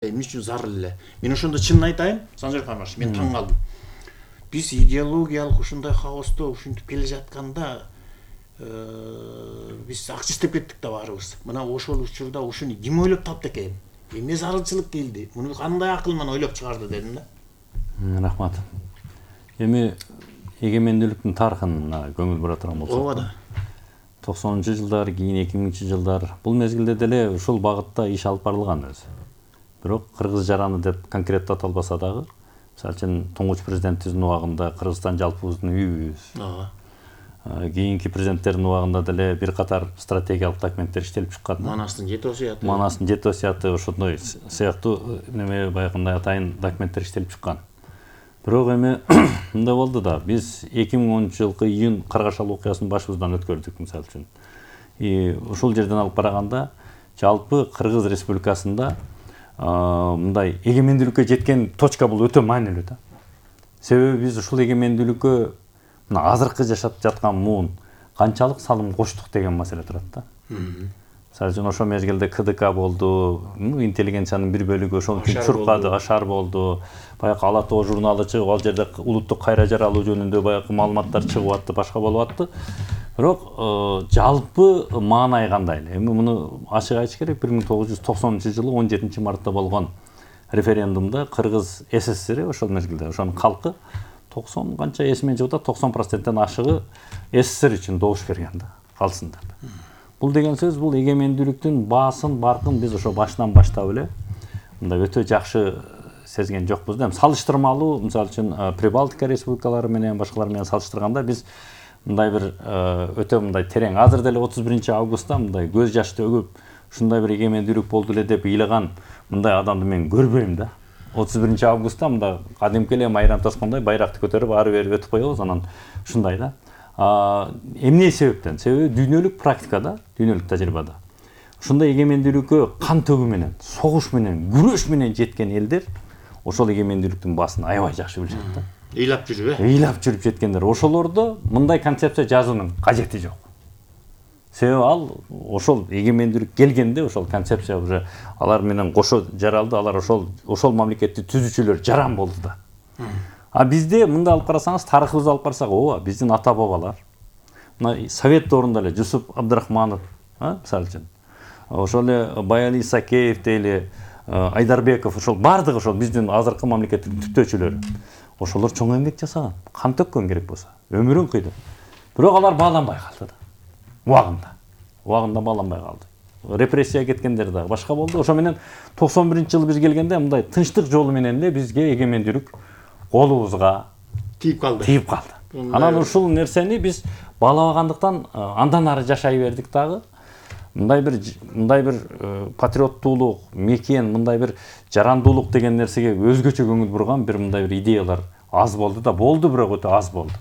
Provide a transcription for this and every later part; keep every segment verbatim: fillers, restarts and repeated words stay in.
эмне үчүн зарыл эле. Мен ошондо чынын айтайын, Санжар Камаш, мен таң калдым. Биз идеологиялык ушундай хаосто ушинтип келе жатканда биз акча иштеп кеттик да баарыбыз. Мына ошол учурда ушуну ким ойлоп тапты экен? Эмне зарылчылык келди? Муну кандай акыл менен ойлоп чыгарды дедим да. Рахмат. Эми эгемендүүлүктүн тарыхын көңүл бура турган болсок. Ооба да. токсонунчу жылдар, кийин эки миңинчи жылдар бул мезгилде деле ушул багытта иш алып барылган өзү. Бирок кыргыз жараны деп конкреттүү аталбаса дагы, мисалы үчүн туңгуч президентибиздин убагында Кыргызстан жалпыбыздын үйүбүз. Ооба. Кийинки президенттердин убагында деле бир катар стратегиялык документтер иштелип чыккан. Манастын жети осуяты. Манастын жети осуяты ошондой сыяктуу неме баягындай атайын документтер иштелип чыккан. Бирок эми мындай болду да, биз эки миң онунчу жылкы июнь Каргашал окуясын башыбыздан өткөрдүк мисалы үчүн. И ушул жерден алып караганда жалпы Кыргыз Республикасында мындай эгемендүүлүккө жеткен точка бул өтө маанилүү да. Себеби биз ушул эгемендүүлүккө мына азыркы жашап жаткан муун канчалык салым коштук деген маселе турат да. Мисалы үчүн ошол мезгилде КДК болду, интеллигенциянын бир бөлүгү ошол үчүн чуркады, ашар болду. Баягы Ала Тоо журналы чыгып, ал жерде улуттук кайра жаралуу жөнүндө баягы маалыматтар чыгып атты, башка болуп атты. Бирок жалпы маанай кандай эле? Эми муну ачык айтыш керек, бир миң тогуз жүз токсонунчу жылы он жетинчи мартта болгон референдумда Кыргыз СССР ошол мезгилде ошонун калкы токсон канча эсиме жок да, токсон проценттен ашыгы СССР үчүн добуш берген да, калсын деп. Бул деген сөз бул эгемендүүлүктүн баасын, баркын биз ошо башынан баштап эле мындай өтө жакшы сезген жокпуз да. Салыштырмалуу, мисалы үчүн Прибалтика республикалары менен башкалар менен салыштырганда биз мындай бир өтө мындай терең, азыр деле отуз биринчи августта мындай көз жаш төгүп ушундай бир эгемендүүлүк болду эле деп ыйлаган мындай адамды мен көрбөйм да. отуз биринчи августта мындай кадимки эле майрам таскандай байракты көтөрүп ары бери өтүп коебуз, анан ушундай да. Эмне себептен? Себеби дүйнөлүк практикада, дүйнөлүк тажрыйбада ушундай эгемендүүлүккө кан төгүү менен, согуш менен, күрөш менен жеткен элдер ошол эгемендүүлүктүн баасын аябай жакшы билишет да. Ыйлап жүрүп э? Ыйлап жүрүп жеткендер. Ошолордо мындай концепция жазуунун кажети жок. Себеби ал ошол эгемендүүлүк келгенде ошол концепция уже алар менен кошо жаралды, алар ошол ошол мамлекетти түзүүчүлөр жаран болду да. А бизде мындай алып карасаңыз, тарыхыбызды алып карасак, ооба, биздин ата бабалар мына Совет доорунда эле Жусуп Абдрахманов, мисалы үчүн, ошол эле Баяли Исакеев дейли, Айдарбеков, ошол бардыгы ошол биздин азыркы мамлекеттин түптөөчүлөрү. Ошолор чоң эмгек жасаган, кан төккөн керек болсо, өмүрүн кыйды. Бирок алар бааланбай калды да. Убагында. Убагында бааланбай калды. Репрессияга кеткендер дагы башка болду. Ошо менен токсон биринчи жылы биз келгенде мындай тынчтык жолу менен эле бизге эгемендүүлүк колубузга тийип калды. Тийип калды. Анан ушул нерсени биз баалабагандыктан андан ары жашай бердик дагы. Мындай бир мындай бир патриоттуулук, мекен, мындай бир жарандуулук деген нерсеге өзгөчө көңүл бурган бир мындай бир идеялар аз болду да, болду, бирок өтө аз болду.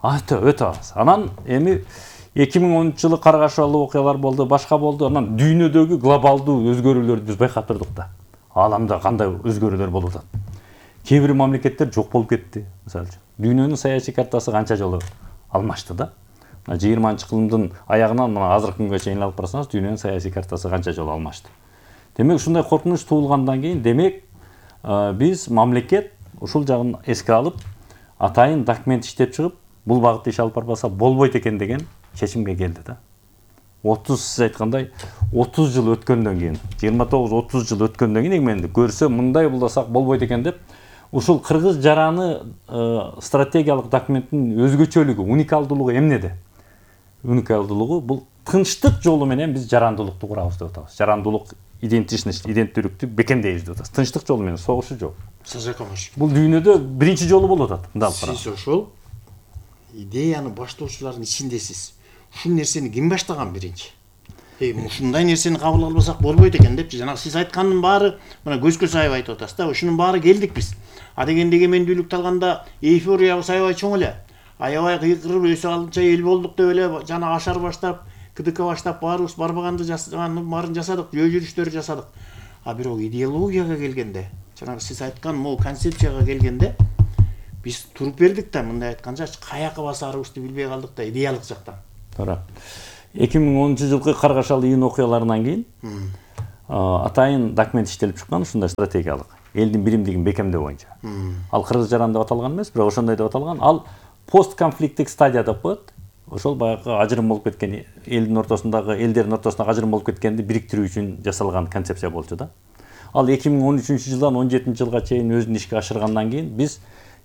Өтө өтө аз. Анан эми эки миң онунчу жылы Каргашалуу окуялар болду, башка болду. Анан дүйнөдөгү глобалдуу өзгөрүүлөрдү биз байкап турдук да. Ааламда кандай өзгөрүүлөр болуп атат. Кээ бир мамлекеттер жок болуп кетти, мисалы үчүн. Дүйнөнүн саясий картасы канча жолу алмашты да. жыйырманчы кылымдын аягынан мына азыркы күнгө чейин алып барсаңыз, дүйнөнүн саясий картасы канча жолу алмашты. Демек ушундай коркунуч туулгандан кийин, демек биз мамлекет ушул жагын эске алып, атайын документ иштеп чыгып, бул багытта иш алып барбаса болбойт экен деген чечимге келди да. отуз сиз айткандай отуз жыл өткөндөн кийин, жыйырма тогуз отуз жыл өткөндөн кийин эгемендүүлүк көрсө мындай булдасак болбойт экен деп, ушул кыргыз жараны стратегиялык документтин өзгөчөлүгү, уникалдуулугу эмнеде? Уникалдуулугу бул тынчтык жолу менен биз жарандуулукту курабыз деп атабыз. Жарандуулук идентичность, иденттүүлүктү бекемдейбиз деп атабыз. Тынчтык жолу менен, согушу жок. Санжар Камаш. Бул дүйнөдө биринчи жолу болуп атат. Мындай алып карасак. Сиз ошол идеяны баштоочулардын ичиндесиз. Ушул нерсени ким баштаган биринчи? Эй, ушундай нерсени кабыл албасак болбойт экен депчи. Жанагы сиз айткандын баары, мына көзгө сайып айтып атасыз да. Ушунун баары келдик биз. А дегенде эгемендүүлүктү алганда эйфориябыз аябай чоң эле. Аябай кыйкырып өсө алынча эл болдук деп эле жана ашар баштап, КДК баштап баарыбыз барбаганды жасаганын баарын жасадык, жөө жүрүштөрү жасадык. А бирок идеологияга келгенде, жанагы сиз айткан могу концепцияга келгенде биз туруп бердик да, мындай айтканча каяка басарыбызды билбей калдык да, идеялык жактан. Туура. эки миң онунчу жылкы Каргашал июнь окуяларынан кийин атайын документ иштелип чыккан, ушундай стратегиялык элдин биримдигин бекемдөө боюнча. Ал кыргыз жаран деп аталган эмес, бирок ошондой деп аталган. Ал постконфликттик стадия деп коет. Ошол баягы ажырым болуп кеткен элдин ортосундагы, элдердин ортосундагы ажырым болуп кеткенди бириктирүү үчүн жасалган концепция болчу да. Ал эки миң он үчүнчү жылдан он жетинчи жылга чейин өзүн ишке ашыргандан кийин биз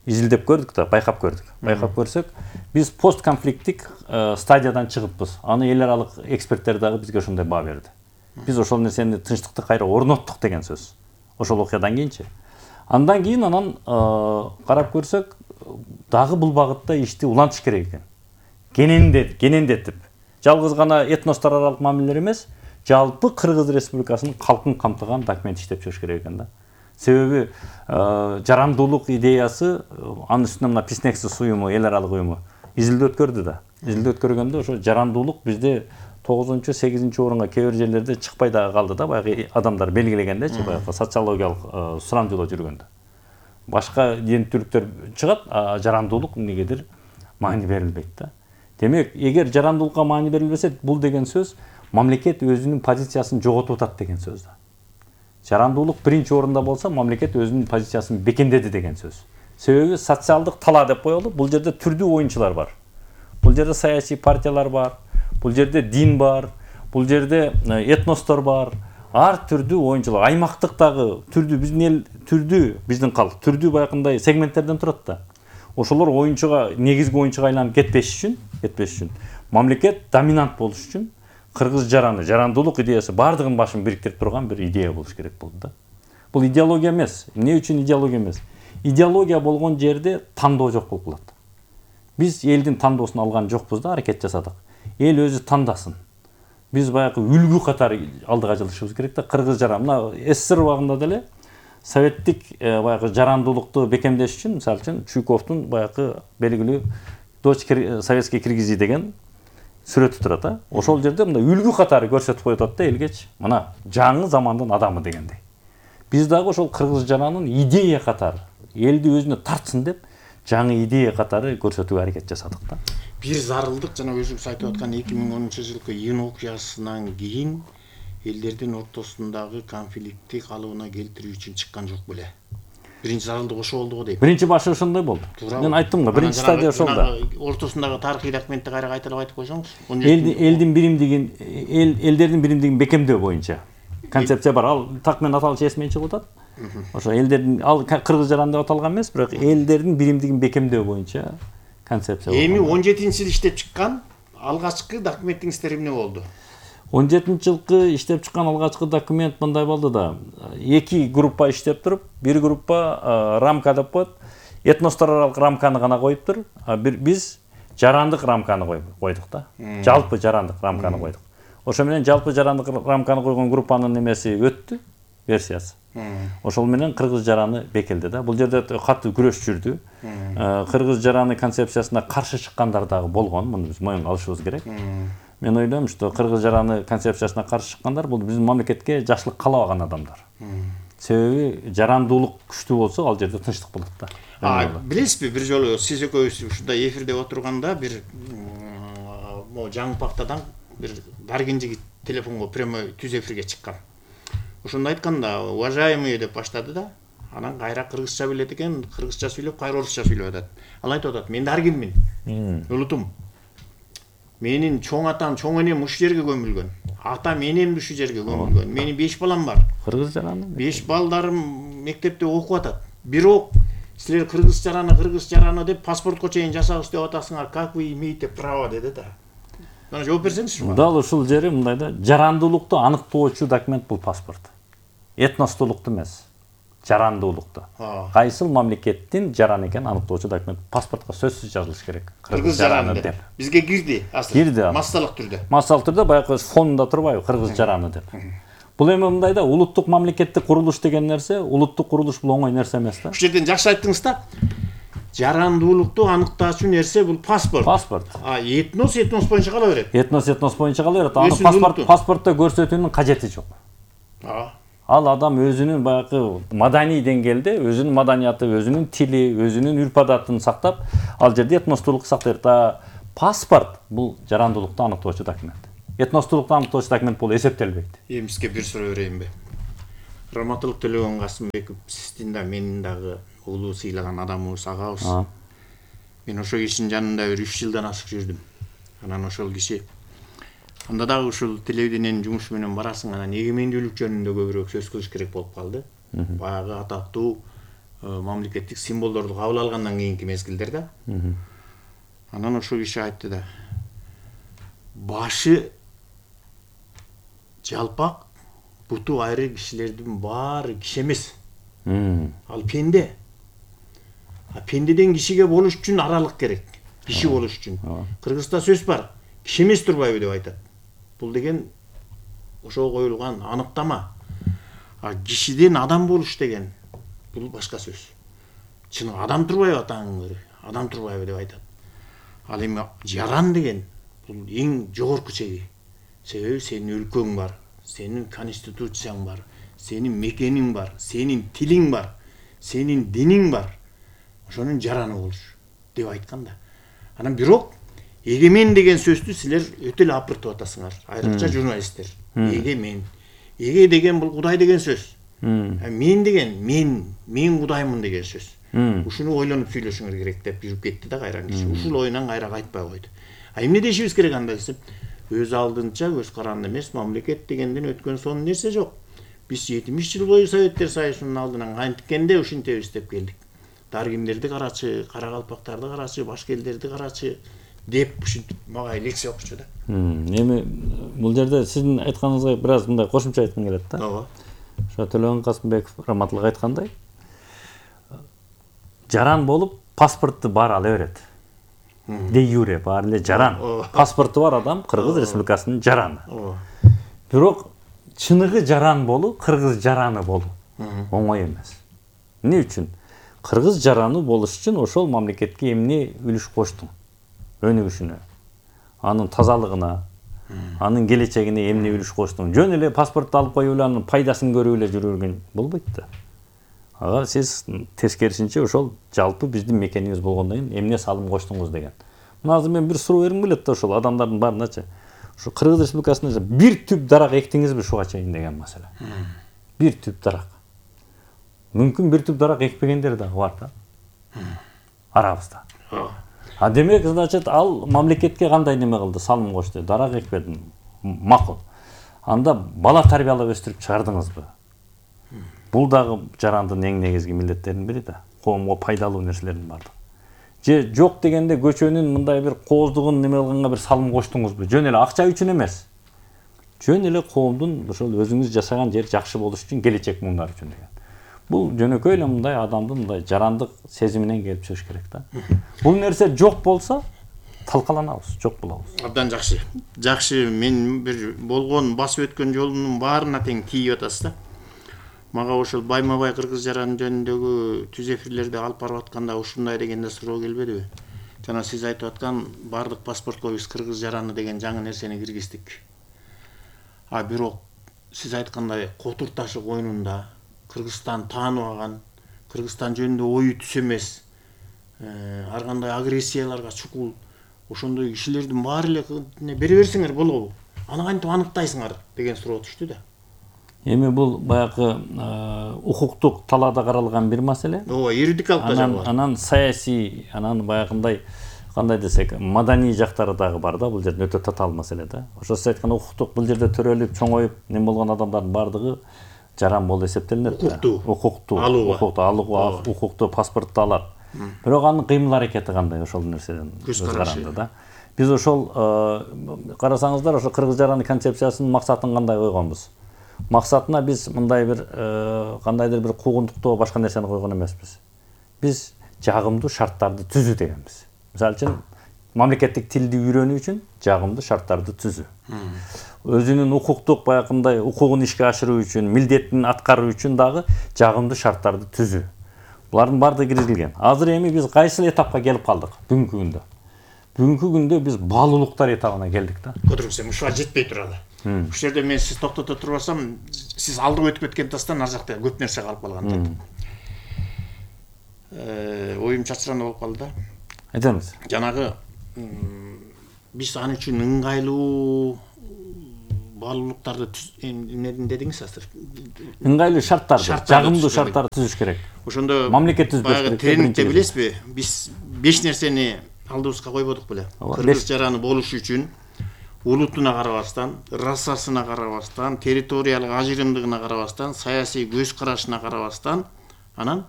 изилдеп көрдүк да, байкап көрдүк. Байкап көрсөк, биз постконфликттик стадиядан чыгыппыз. Аны эл аралык эксперттер дагы бизге ошондой баа берди. Биз ошол нерсени, тынчтыкты кайра орноттук деген сөз. Ошол окуядан кийинчи. Андан кийин анан карап көрсөк, дагы бул багытта ишти улантыш керек экен. Кенендет, кенендетип, жалгыз гана этностор аралык мамилелер эмес, жалпы Кыргыз Республикасынын калкын камтыган документ иштеп чыгыш керек экен да. Себеби жарандуулук идеясы, анын үстүнө мына Писнексис уюму, эл аралык уюму изилдөө өткөрдү да. Изилдөө өткөргөндө ошо жарандуулук бизде тогузунчу, сегизинчи орунга кээ бир жерлерде чыкпай дагы калды да, баягы адамдар белгилегендечи, баягы социологиялык сурамжылоо жүргөндө. Башка дин түрлүктөр чыгат, а жарандуулук эмнегедир маани берилбейт да. Демек, эгер жарандуулукка маани берилбесе, бул деген сөз мамлекет өзүнүн позициясын жоготуп атат деген сөз да. Жарандуулук биринчи орунда болсо, мамлекет өзүнүн позициясын бекемдеди деген сөз. Себеби социалдык талаа деп коелу, бул жерде түрдүү оюнчулар бар. Бул жерде саясий партиялар бар, бул жерде дин бар, бул жерде этностор бар. Ар түрдүү оюнчулар, аймактык дагы түрдүү, биздин эл түрдүү, биздин калк түрдүү баягындай сегменттерден турат да. Ошолор оюнчуга, негизги оюнчуга айланып кетпеш үчүн, кетпеш үчүн, мамлекет доминант болуш үчүн кыргыз жараны, жарандуулук идеясы бардыгын башын бириктирип турган бир идея болуш керек болду да. Бул идеология эмес. Эмне үчүн идеология эмес? Идеология болгон жерде тандоо жок болуп калат. Биз элдин тандоосун алган жокпуз да, аракет жасадык. Эл өзү тандасын. Биз баягы үлгү катары алдыга жылышыбыз керек да. Кыргыз жаран, мына СССР убагында деле советтик баягы жарандуулукту бекемдеш үчүн, мисалы үчүн Чуйковдун баягы белгилүү дочь советской киргизи деген сүрөтү турат да. Ошол жерде мындай үлгү катары көрсөтүп коюп атат да элгечи. Мына жаңы замандын адамы дегендей. Биз дагы ошол кыргыз жаранын идея катары элди өзүнө тартсын деп жаңы идея катары көрсөтүүгө аракет жасадык да. Бир зарылдык жана өзүңүз айтып аткан эки миң онунчу жылкы июнь окуясынан кийин элдердин ортосундагы конфликтти калыбына келтирүү үчүн чыккан жок беле. Биринчи зарылдык ошо болду го дейм. Биринчи башы ошондой болду. Мен айттым го, биринчи стадия ошол да. Ортосундагы тарыхый документти кайра кайталап айтып койсоңуз. Элдин биримдигин, эл элдердин биримдигин бекемдөө боюнча концепция бар. Ал так менен аталышы эсимен чыгып атат. Ошо элдердин, ал кыргыз жаран деп аталган эмес, бирок элдердин биримдигин бекемдөө боюнча концепция бар. Эми он жетинчи жылы иштеп чыккан алгачкы документиңиздер эмне болду? он жетинчи жылкы иштеп чыккан алгачкы документ мындай болду да. Эки группа иштеп туруп, бир группа рамка деп коет. Этностор аралык рамканы гана коюптур. Биз жарандык рамканы койдук да. Жалпы жарандык рамканы койдук. Ошо менен жалпы жарандык рамканы койгон группанын немеси өттү, версиясы. Ошол менен кыргыз жараны бекелди да. Бул жерде катуу күрөш жүрдү. Кыргыз жараны концепциясына каршы чыккандар дагы болгон. Муну биз моюнга алышыбыз керек. Мен ойлойм, что кыргыз жараны концепциясына каршы чыккандар бул биздин мамлекетке жакшылык каалабаган адамдар. Себеби жарандуулук күчтүү болсо, ал жерде тынчтык болот да. А, билесизби, бир жолу сиз экөөбүз ушундай эфирде отурганда бир могу жаңы пактадан бир Даргин жигит телефонго прямой түз эфирге чыккан. Ошондо айтканда, уважаемый деп баштады да. Анан кайра кыргызча билет экен, кыргызча сүйлөп, кайра орусча сүйлөп атат. Ал айтып атат, мен Даргинмин. Улутум. Менин чоң атам, чоң энем ушул жерге көмүлгөн. Атам, энем ушул жерге көмүлгөн. Менин беш балам бар. Кыргыз жараны. беш балдарым мектепте окуп атат. Бирок силер кыргыз жараны, кыргыз жараны деп паспортко чейин жасабыз деп атасыңар. Как вы имеете право деди да. Мына жооп берсеңизчи. Дал ушул жери мындай да, жарандуулукту аныктоочу документ бул паспорт. Этностуулукту эмес, жарандуулукту. Кайсыл мамлекеттин жаран экенин аныктоочу документ паспортко сөзсүз жазылыш керек. Кыргыз жараны деп. Бизге кирди асыл. Кирди. Массалык түрдө. Массалык түрдө баягы фонунда турбайбы, кыргыз жараны деп. Бул эми мындай да, улуттук мамлекеттик курулуш деген нерсе, улуттук курулуш бул оңой нерсе эмес да. Ушул жерден жакшы айттыңыз да. Жарандуулукту аныктаачу нерсе бул паспорт. Паспорт. А этнос этнос боюнча кала берет. Этнос этнос боюнча кала берет. Аны паспорт паспортто көрсөтүүнүн кажети жок. Ал адам өзүнүн баягы маданий деңгээлде өзүнүн маданияты, өзүнүн тили, өзүнүн үрп адатын сактап, ал жерде этностуулук сактайт. Паспорт бул жарандуулукту аныктоочу документ. этностуулукту аныктоочу документ болуп эсептелбейт. Эми сизге бир суроо берейинби? Раматылык Төлөгөн Касымбеков сиздин да менин дагы улуу сыйлаган адамыбыз, агабыз. Мен ошол кишинин жанында бир үч жылдан ашык жүрдүм. Анан ошол киши анда дагы ушул телевидениенин жумушу менен барасың, анан эгемендүүлүк жөнүндө көбүрөөк сөз кылыш керек болуп калды. Баягы атактуу мамлекеттик символдорду кабыл алгандан кийинки мезгилдер да. Анан ошол киши айтты да, башы жалпак, буту айры кишилердин баары киши эмес. Ал пенде. А пендеден кишиге болуш үчүн аралык керек. Киши болуш үчүн. Кыргызда сөз бар. Киши эмес турбайбы деп айтат. Бул деген ошого коюлган аныктама. А кишиден адам болуш деген бул башка сөз. Чын адам турбайбы атаңын көрү? Адам турбайбы деп айтат. Ал эми жаран деген бул эң жогорку чеги. Себеби сенин өлкөң бар, сенин конституцияң бар, сенин мекениң бар, сенин тилиң бар, сенин диниң бар. Ошонун жараны болуш деп айткан да. Анан бирок эгемен деген сөздү силер өтө эле апыртып атасыңар, айрыкча журналисттер. Эгемен. Эге деген бул Кудай деген сөз. Мен деген мен, мен Кудаймын деген сөз. Ушуну ойлонуп сүйлөшүңөр керек деп жүрүп кетти да кайра киши. Ушул оюнан кайра кайтпай койду. А эмне дешибиз керек анда десем, өз алдынча көз каранды эмес, мамлекет дегенден өткөн сонун нерсе жок. Биз жетимиш жыл бою Советтер Союзунун алдынан кантикенде ушинтебиз деп келдик. Даргиндерди карачы, карагалпактарды карачы, башка элдерди карачы деп ушинтип мага лекция окучу да. Эми бул жерде сиздин айтканыңызга бир аз мындай кошумча айткым келет да. Ооба. Ошо Төлөгөн Касымбеков Раматылык айткандай, жаран болуп паспорту баары ала берет. Де юре баары эле жаран. Паспорту бар адам Кыргыз Республикасынын жараны. Бирок чыныгы жаран болуу, кыргыз жараны болуу оңой эмес. Эмне үчүн? Кыргыз жараны болуш үчүн ошол мамлекетке эмне үлүш коштуң? Өнүгүшүнө, анын тазалыгына, анын келечегине эмне үлүш коштуң? Жөн эле паспортду алып коюп эле анын пайдасын көрүп эле жүргөн болбойт да. Ага сиз тескерисинче ошол жалпы биздин мекенибиз болгондон кийин эмне салым коштуңуз деген. Мына азыр мен бир суроо бергим келет да ошол адамдардын баарыначы. Ошо Кыргыз Республикасында бир түп дарак эктиңизби ушуга чейин деген маселе. Бир түп дарак. Мүмкүн бир түп дарак экпегендер дагы бар да. Арабызда. А демек, значит, ал мамлекетке кандай неме кылды, салым кошту, дарак экпедим. Макул. Анда бала тарбиялап өстүрүп чыгардыңызбы? Бул дагы жарандын эң негизги милдеттеринин бири да. Коомго пайдалуу нерселердин бардыгы. Же жок дегенде көчөнүн мындай бир кооздугун неме кылганга бир салым коштуңузбу? Жөн эле акча үчүн эмес. Жөн эле коомдун ошол өзүңүз жашаган жер жакшы болуш үчүн, келечек муңдар үчүн деген. Бул жөнөкөй эле мындай адамдын мындай жарандык сезиминен келип чыгыш керек да. Бул нерсе жок болсо талкаланабыз, жок болобуз. Абдан жакшы. Жакшы, мен бир болгон басып өткөн жолумдун баарына тең тийип атасыз да. Мага ошол байма-бай кыргыз жараны жөнүндөгү түз эфирлерди алып барып атканда ушундай дегенде суроо келбедиби? Жана сиз айтып аткан бардык паспортко биз кыргыз жараны деген жаңы нерсени киргиздик. А бирок сиз айткандай Котур ташы коюнунда Кыргызстан тааныбаган, Кыргызстан жөнүндө ою түз эмес, ар кандай агрессияларга чукул, ошондой кишилердин баары эле бере берсеңер болобу? Аны кантип аныктайсыңар деген суроо түштү да. Эми бул баягы укуктук талаада каралган бир маселе. Ооба, юридикалык тажабы бар. Анан саясий, анан баягындай кандай десек, маданий жактары дагы бар да, бул жерде өтө татаал маселе да. Ошо сиз айткан укуктук бул жерде төрөлүп, чоңоюп, нем болгон адамдардын бардыгы жаран болуп эсептелинет да. Укуктуу, укуктуу алууга, укукту алууга, укуктуу паспортту алат. Бирок анын кыймыл аракети кандай ошол нерседен көз каранды да. Биз ошол карасаңыздар, ошо кыргыз жараны концепциясынын максатын кандай койгонбуз? Максатына биз мындай бир кандайдыр бир куугунтуктоо башка нерсени койгон эмеспиз. Биз жагымдуу шарттарды түзүү дегенбиз. Мисалы үчүн мамлекеттик тилди үйрөнүү үчүн жагымдуу шарттарды түзүү. Өзүнүн укуктук баягындай укугун ишке ашыруу үчүн, милдетин аткаруу үчүн дагы жагымдуу шарттарды түзүү. Булардын баардыгы киргизилген. Азыр эми биз кайсы этапка келип калдык бүгүнкү күндө? Бүгүнкү күндө биз баалуулуктар этабына келдик да. Көтөрүңүз, ушуга жетпей туралы. Ушул жерде мен сиз токтото турбасам, сиз алдыга өтүп кеткен тастан ар жакта көп нерсе калып калган да. Оюм чачырана болуп калды да. Айтыңыз. Жанагы биз аны үчүн ыңгайлуу баалуулуктарды эмнедин дедиңиз азыр? Ыңгайлуу шарттарды, жагымдуу шарттарды түзүш керек. Ошондо мамлекет түзбөш керек. Тренингде билесизби? Биз беш нерсени алдыбызга койбодук беле? Кыргыз жараны болуш үчүн улутуна карабастан, расасына карабастан, территориялык ажырымдыгына карабастан, саясий көз карашына карабастан, анан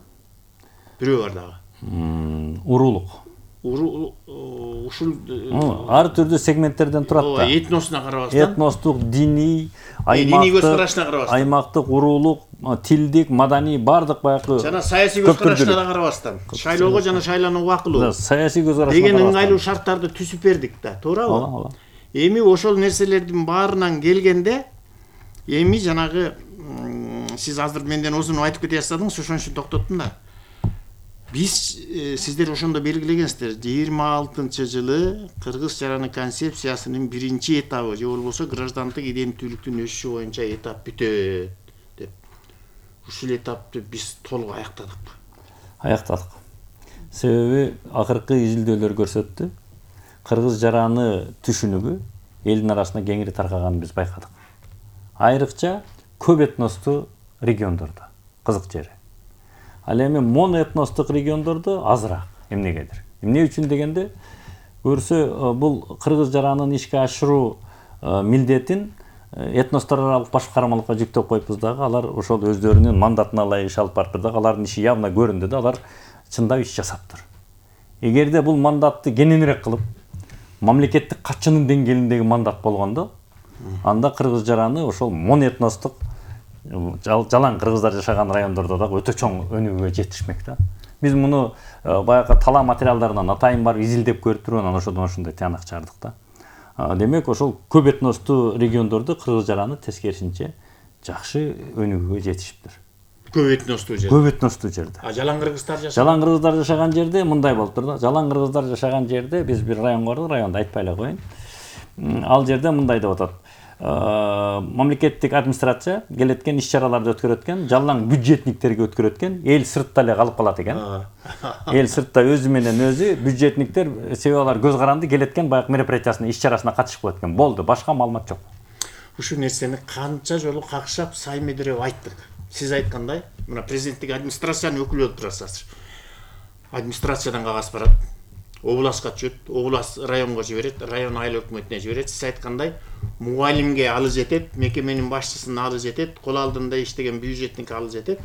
бирөө бар дагы. Уруулук. Ушул ар түрдүү сегменттерден турат да. Этносуна карабастан. Этностук, диний, диний көз карашына карабастан. Аймактык, уруулук, тилдик, маданий баардык баягы жана саясий көз карашына да карабастан. Шайлоого жана шайланууга убакылуу. Саясий көз карашына деген ыңгайлуу шарттарды түзүп бердик да, туурабы? Эми ошол нерселердин баарынан келгенде эми жанагы сиз азыр менден узун айтып кете баштадыңыз, ошон үчүн токтоттум да. Биз сиздер ошондо белгилегенсиздер, жыйырма алтынчы жылы Кыргыз жараны концепциясынын биринчи этабы же болбосо граждандык иденттүүлүктүн өсүшү боюнча этап бүтөт деп. Ушул этапты биз толук аяктадык. Аяктадык. Себеби акыркы изилдөөлөр көрсөттү. Кыргыз жараны түшүнүгү элдин арасында кеңири таркаганын биз байкадык. Айрыкча көп этностуу региондордо, кызык жери. Ал эми моноэтностук региондордо азыраак эмнегедир. Эмне үчүн дегенде, көрсө бул кыргыз жаранын ишке ашыруу милдетин этностор аралык башкармалыкка жүктөп коюпбуз дагы, алар ошол өздөрүнүн мандатына ылайык иш алып барыптыр дагы, алардын иши явно көрүндү да, алар чындап иш жасаптыр. Эгерде бул мандатты кененирээк кылып, мамлекеттик катчынын деңгээлиндеги мандат болгондо, анда кыргыз жараны ошол моноэтностук жалаң кыргыздар жашаган райондордо дагы өтө чоң өнүгүүгө жетишмек да. Биз муну баягы тала материалдарынан атайын барып изилдеп көрүп туруп, анан ошодон ошондой тыянак чыгардык да. Демек, ошол көп этностуу региондордо кыргыз жараны тескерисинче жакшы өнүгүүгө жетишиптир. Көп этностуу жерде. Көп этностуу жерде. А жалаң кыргыздар жашаган? Жалаң кыргыздар жашаган жерде мындай болуптур да. Жалаң кыргыздар жашаган жерде биз бир район бардык, районду айтпай эле коеюн. Ал жерде мындай деп атат. Мамлекеттик администрация келеткен иш-чараларды өткөрөткөн, жалаң бюджетниктерге өткөрөткөн, эл сыртта эле калып калат экен. Эл сыртта өзү менен өзү, бюджетниктер себеби алар көз каранды келеткен баягы мероприятиясына, иш-чарасына катышып коет экен. Болду, башка маалымат жок. Ушул нерсени канча жолу какшап, сайме-дирип айттык. Сиз айткандай, мына президенттик администрациянын өкүлү болуп турасыз. Администрациядан кагаз барат, областка түшөт, област районго жиберет, район айыл өкмөтүнө жиберет. Сиз айткандай, мугалимге алы жетет, мекеменин башчысына алы жетет, кол алдында иштеген бюджетник алы жетет.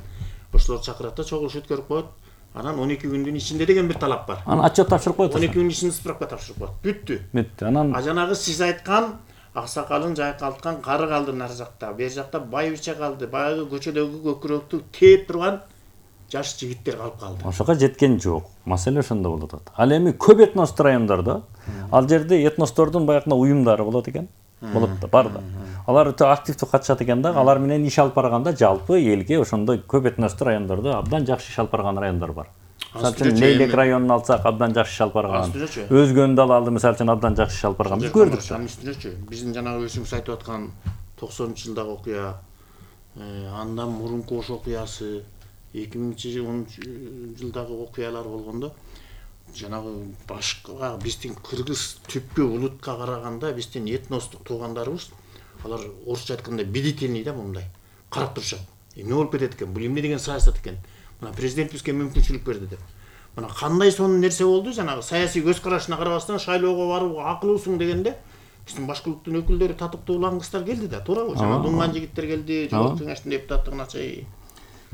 Ошолор чакырат да чогулуш өткөрүп коет. Анан он эки күндүн ичинде деген бир талап бар. Анан отчет тапшырып коет. он эки күндүн ичинде справка тапшырып коет. Бүттү. Бүттү. Анан а жанагы сиз айткан аксакалын жайкалткан кары калды нар жакта, бер жакта байбиче калды, баягы көчөдөгү көкүрөктү тээп турган жаш жигиттер калып калды. Ошого жеткен жок. Маселе ошондо болуп атат. Ал эми көп этностуу райондордо, ал жерде этностордун баягы уюмдары болот экен. Болот да, бар да. Алар өтө активдүү катышат экен да, алар менен иш алып барганда жалпы элге ошондой көп этностуу райондордо абдан жакшы иш алып барган райондор бар. Мисалы үчүн Лейлек районун алсак, абдан жакшы иш алып барган. Өзгөндү алалы, мисалы үчүн абдан жакшы иш алып барган. Биз көрдүк. Үстүнөчү. Биздин жанагы өзүңүз айтып аткан токсонунчу жылдагы окуя, андан мурунку ошол окуясы, эки миңинчи жылдагы окуялар болгондо, жанагы башка биздин кыргыз түпкү улутка караганда биздин этностук туугандарыбыз, алар орусча айтканда бдительный да мындай карап турушат. Эмне болуп кетет экен? Бул эмне деген саясат экен? Мына президент бизге мүмкүнчүлүк берди деп. Мына кандай сонун нерсе болду, жанагы саясий көз карашына карабастан шайлоого барууга акылуусуң дегенде, биздин башкылыктын өкүлдөрү татыктуу улангыстар келди да, туурабы? Жана дуңган жигиттер келди, жогорку кеңештин депутаттыгына чейин.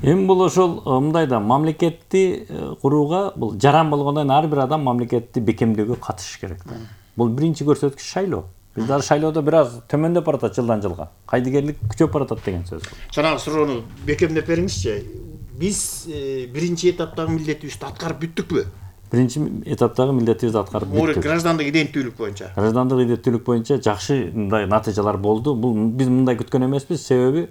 Эми бул ошол мындай да мамлекетти курууга бул жаран болгондон ар бир адам мамлекетти бекемдөөгө катышыш керек да. Бул биринчи көрсөткүч шайлоо. Биз дагы шайлоодо бир аз төмөндөп баратат жылдан жылга. Кайдыгерлик күчөп баратат деген сөз. Жанагы суроону бекемдеп бериңизчи. Биз биринчи этаптагы милдетибизди аткарып бүттүкпү? Биринчи этаптагы милдетибизди аткарып бүттүк. Граждандык иденттүүлүк боюнча. Граждандык иденттүүлүк боюнча жакшы мындай натыйжалар болду. Бул биз мындай күткөн эмеспиз, себеби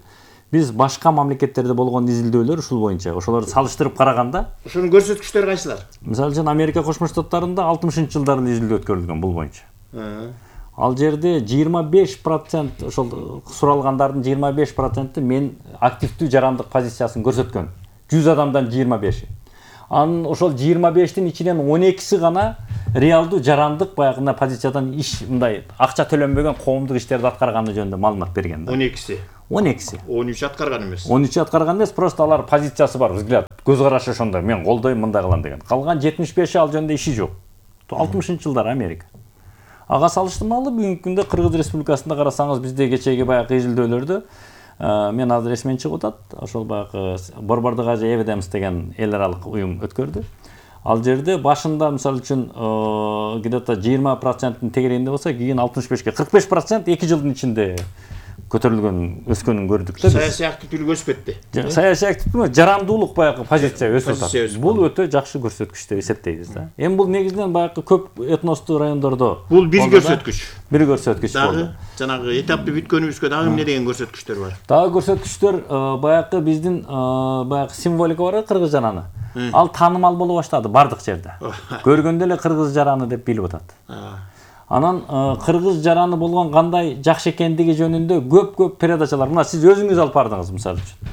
биз башка мамлекеттерде болгон изилдөөлөр ушул боюнча, ошолорду салыштырып караганда, ошонун көрсөткүчтөрү кайсылар? Мисалы үчүн Америка Кошмо Штаттарында алтымышынчы жылдары изилдөө өткөрүлгөн бул боюнча. Ал жерде жыйырма беш процент ошол суралгандардын жыйырма беш проценти мен активдүү жарандык позициясын көрсөткөн. жүз адамдан жыйырма беши. Анын ошол жыйырма бештин ичинен он экиси гана реалдуу жарандык баягындай позициядан иш мындай акча төлөнбөгөн коомдук иштерди аткарганы жөнүндө маалымат берген да. он экиси. он экиси. он үч аткарган эмес. он үч аткарган эмес, просто алар позициясы бар, взгляд, көз карашы ошондой, мен колдойм, мындай кылам деген. Калган жетимиш беши ал жөнүндө иши жок. алтымышынчы жылдары Америка. Ага салыштырмалуу бүгүнкү күндө Кыргыз Республикасында карасаңыз, бизде кечеги баягы изилдөөлөрдө мен азыр эсимен чыгып атат. Ошол баягы Борбордук Азия Эвидемс деген эл аралык уюм өткөрдү. Ал жерде башында мисалы үчүн где-то жыйырма проценттин тегерегинде болсо, кийин алтымыш бешке кырк беш процент эки жылдын ичинде көтөрүлгөн, өскөнүн көрдүк да. Саясий активдүүлүк өспөттү. Саясий активдүүлүк, жарандуулук баягы позиция өсүп атат. Бул өтө жакшы көрсөткүч деп эсептейбиз да. Эми бул негизинен баягы көп этностуу райондордо бул бир көрсөткүч. Бир көрсөткүч болду. Дагы жанагы этапты бүткөнүбүзгө дагы эмне деген көрсөткүчтөр бар? Дагы көрсөткүчтөр баягы биздин баягы символика бар да, кыргыз жараны. Ал таанымал боло баштады бардык жерде. Көргөндө эле кыргыз жараны деп билип атат. Анан кыргыз жараны болгон кандай жакшы экендиги жөнүндө көп-көп передачалар. Мына сиз өзүңүз алып бардыңыз мисалы үчүн.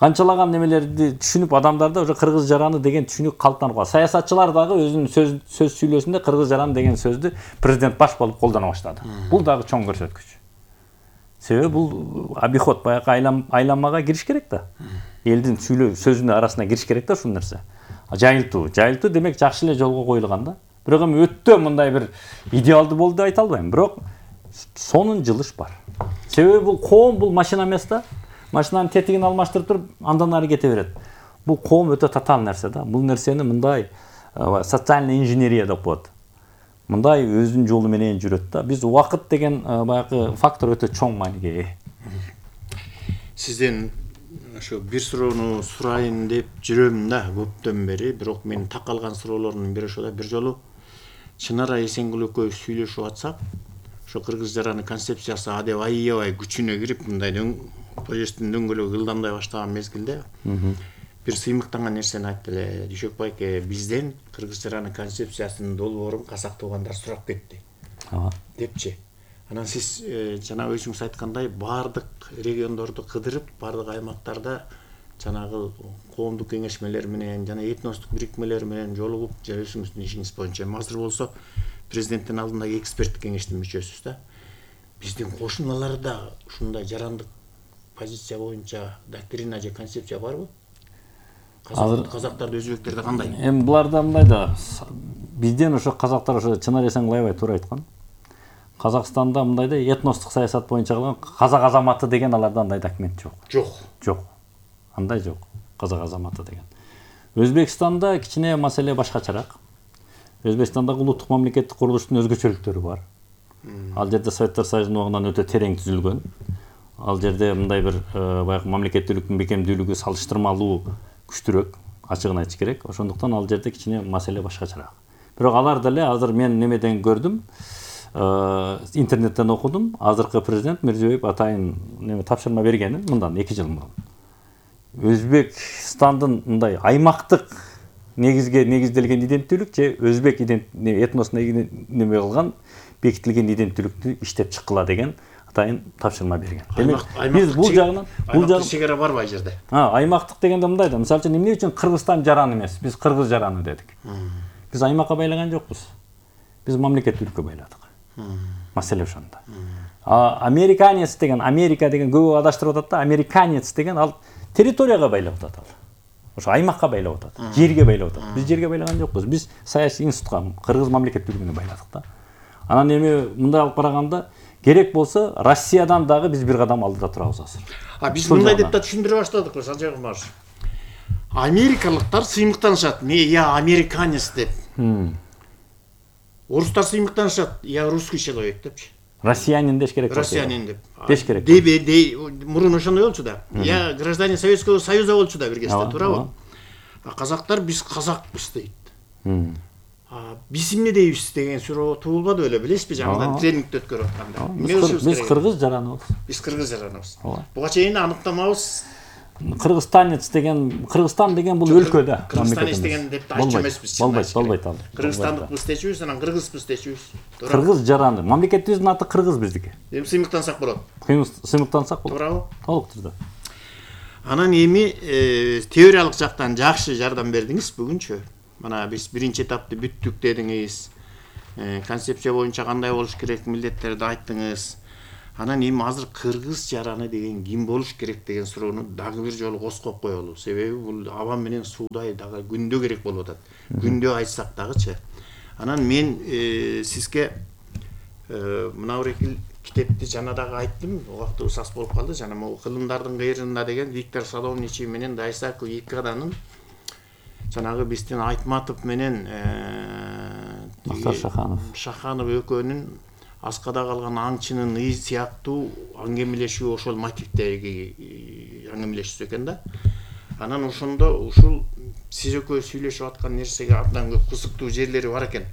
Канчалаган немелерди түшүнүп адамдарда уже кыргыз жараны деген түшүнүк калыптанып калды. Саясатчылар дагы өзүнүн сөз сөз сүйлөөсүндө кыргыз жараны деген сөздү президент баш болуп колдоно баштады. Бул дагы чоң көрсөткүч. Себеби бул обиход баягы айлам айланмага кириш керек да. Элдин сүйлөө сөзүнүн арасына кириш керек да ушул нерсе. Жайылтуу, жайылтуу демек жакшы эле жолго коюлган да. Бирок эми өтө мындай бир идеалдуу болду деп айта албайм, бирок сонун жылыш бар. Себеби бул коом бул машина эмес да. Машинанын тетигин алмаштырып туруп, андан ары кете берет. Бул коом өтө татаал нерсе да. Бул нерсени мындай социальный инженерия деп коет. Мындай өзүнүн жолу менен жүрөт да. Биз убакыт деген баягы фактор өтө чоң мааниге ээ. Сизден ошо бир суроону сурайын деп жүрөм да көптөн бери, бирок мен такалган суроолордун бири ошо да. Бир жолу Чынара Эсенгүл экөөбүз сүйлөшүп атсак, ошо кыргыз жараны концепциясы адеп аябай күчүнө кирип, мындай поезддин дөңгөлөгү ылдамдай баштаган мезгилде бир сыймыктанган нерсени айтты эле. Дүйшөк байке, бизден кыргыз жараны концепциясынын долбоорун казак туугандар сурап кетти депчи. Анан сиз жана өзүңүз айткандай баардык региондорду кыдырып, баардык аймактарда жанагы коомдук кеңешмелер менен жана этностук бирикмелер менен жолугуп, же өзүңүздүн ишиңиз боюнча азыр болсо президенттин алдындагы эксперттик кеңештин мүчөсүз да. Биздин кошуналарда ушундай жарандык позиция боюнча доктрина же концепция барбы? Азыр казактарды, өзбектерде кандай? Эми буларда мындай да, бизден ошо казактар ошо Чынар Эсенгүл аябай туура айткан. Казакстанда мындай да этностук саясат боюнча кылган казак азаматы деген аларда андай документ жок. Жок. Жок. Андай жок. Казак азаматы деген. Өзбекстанда кичине маселе башкачараак. Өзбекстандагы улуттук мамлекеттик курулуштун өзгөчөлүктөрү бар. Ал жерде Советтер Союзунун убагынан өтө терең түзүлгөн. Ал жерде мындай бир баягы мамлекеттүүлүктүн бекемдүүлүгү салыштырмалуу күчтүүрөөк, ачыгын айтыш керек. Ошондуктан ал жерде кичине маселе башкачараак. Бирок алар деле азыр мен немеден көрдүм, интернеттен окудум. Азыркы президент Мирзиёев атайын неме тапшырма бергени мындан эки жыл мурун. Өзбекстандын мындай аймактык негизге негизделген иденттүүлүк же өзбек этносуна неме кылган бекитилген иденттүүлүктү иштеп чыккыла деген атайын тапшырма берген. Демек биз бул жагынан бул жагы чегара барбы ай жерде? Ha, аймактык дегенде мындай да. Мисалы үчүн эмне үчүн Кыргызстан жараны эмес, биз кыргыз жараны дедик. Биз аймакка байлаган жокпуз. Биз мамлекеттүүлүккө байладык. Маселе ошондо. А американец деген, Америка деген көбү адаштырып атат да, американец деген ал территорияга байлап атат ал. Ошо аймакка байлап атат, жерге байлап атат. Биз жерге байлаган жокпуз. Биз саясий институтка, кыргыз мамлекеттүүлүгүнө байладык да. Анан эми мындай алып караганда керек болсо Россиядан дагы биз бир кадам алдыда турабыз азыр. А биз мындай деп да түшүндүрө баштадык, Санжар Кумаров. Америкалыктар сыймыктанышат, "Не, я американец" деп. Орустар сыймыктанышат, "Я русский человек" депчи. Россиянин деш керек. Россиянин деп. Деш керек. Дебе, дей, мурун ошондой болчу да. Я гражданин Советского Союза болчу да бир кезде, туурабы? А казактар биз казакпыз дейт. А биз эмне дейбиз деген суроо туулбады беле, билесизби, жаңыдан тренингди өткөрүп атканда. Биз кыргыз жараныбыз. Биз кыргыз жараныбыз. Буга чейин аныктамабыз. Кыргызстанец деген, Кыргызстан деген бул өлкө да. Кыргызстанец деген деп айтчу эмеспиз. Болбойт, болбойт ал. Кыргызстандыкпыз дечүбүз, анан кыргызбыз дечүбүз. Кыргыз жараны. Мамлекетибиздин аты кыргыз биздики. Эми сыймыктансак болот. Сыймыктансак болот. Туурабы? Толук түрдө. Анан эми теориялык жактан жакшы жардам бердиңиз бүгүнчү. Мына биз биринчи этапты бүттүк дедиңиз. концепция боюнча кандай болуш керек, милдеттерди айттыңыз. Анан эми азыр кыргыз жараны деген ким болуш керек деген суроону дагы бир жолу козгоп коелу. Себеби бул аба менен суудай дагы күндө керек болуп атат. Күндө айтсак дагычы. Анан мен сизге мына бир китепти жана дагы айттым, убактыбыз аз болуп калды. Жана могу кылымдардын кыйрында деген Виктор Садовничий менен Дайсаку Икаданын жанагы биздин Айтматов менен Мактар Шаханов Шаханов экөөнүн аскада калган аңчынын ый сыяктуу аңгемелешүү ошол мотивдеги аңгемелешүүсү экен да. Анан ошондо ушул сиз экөө сүйлөшүп аткан нерсеге абдан көп кызыктуу жерлери бар экен.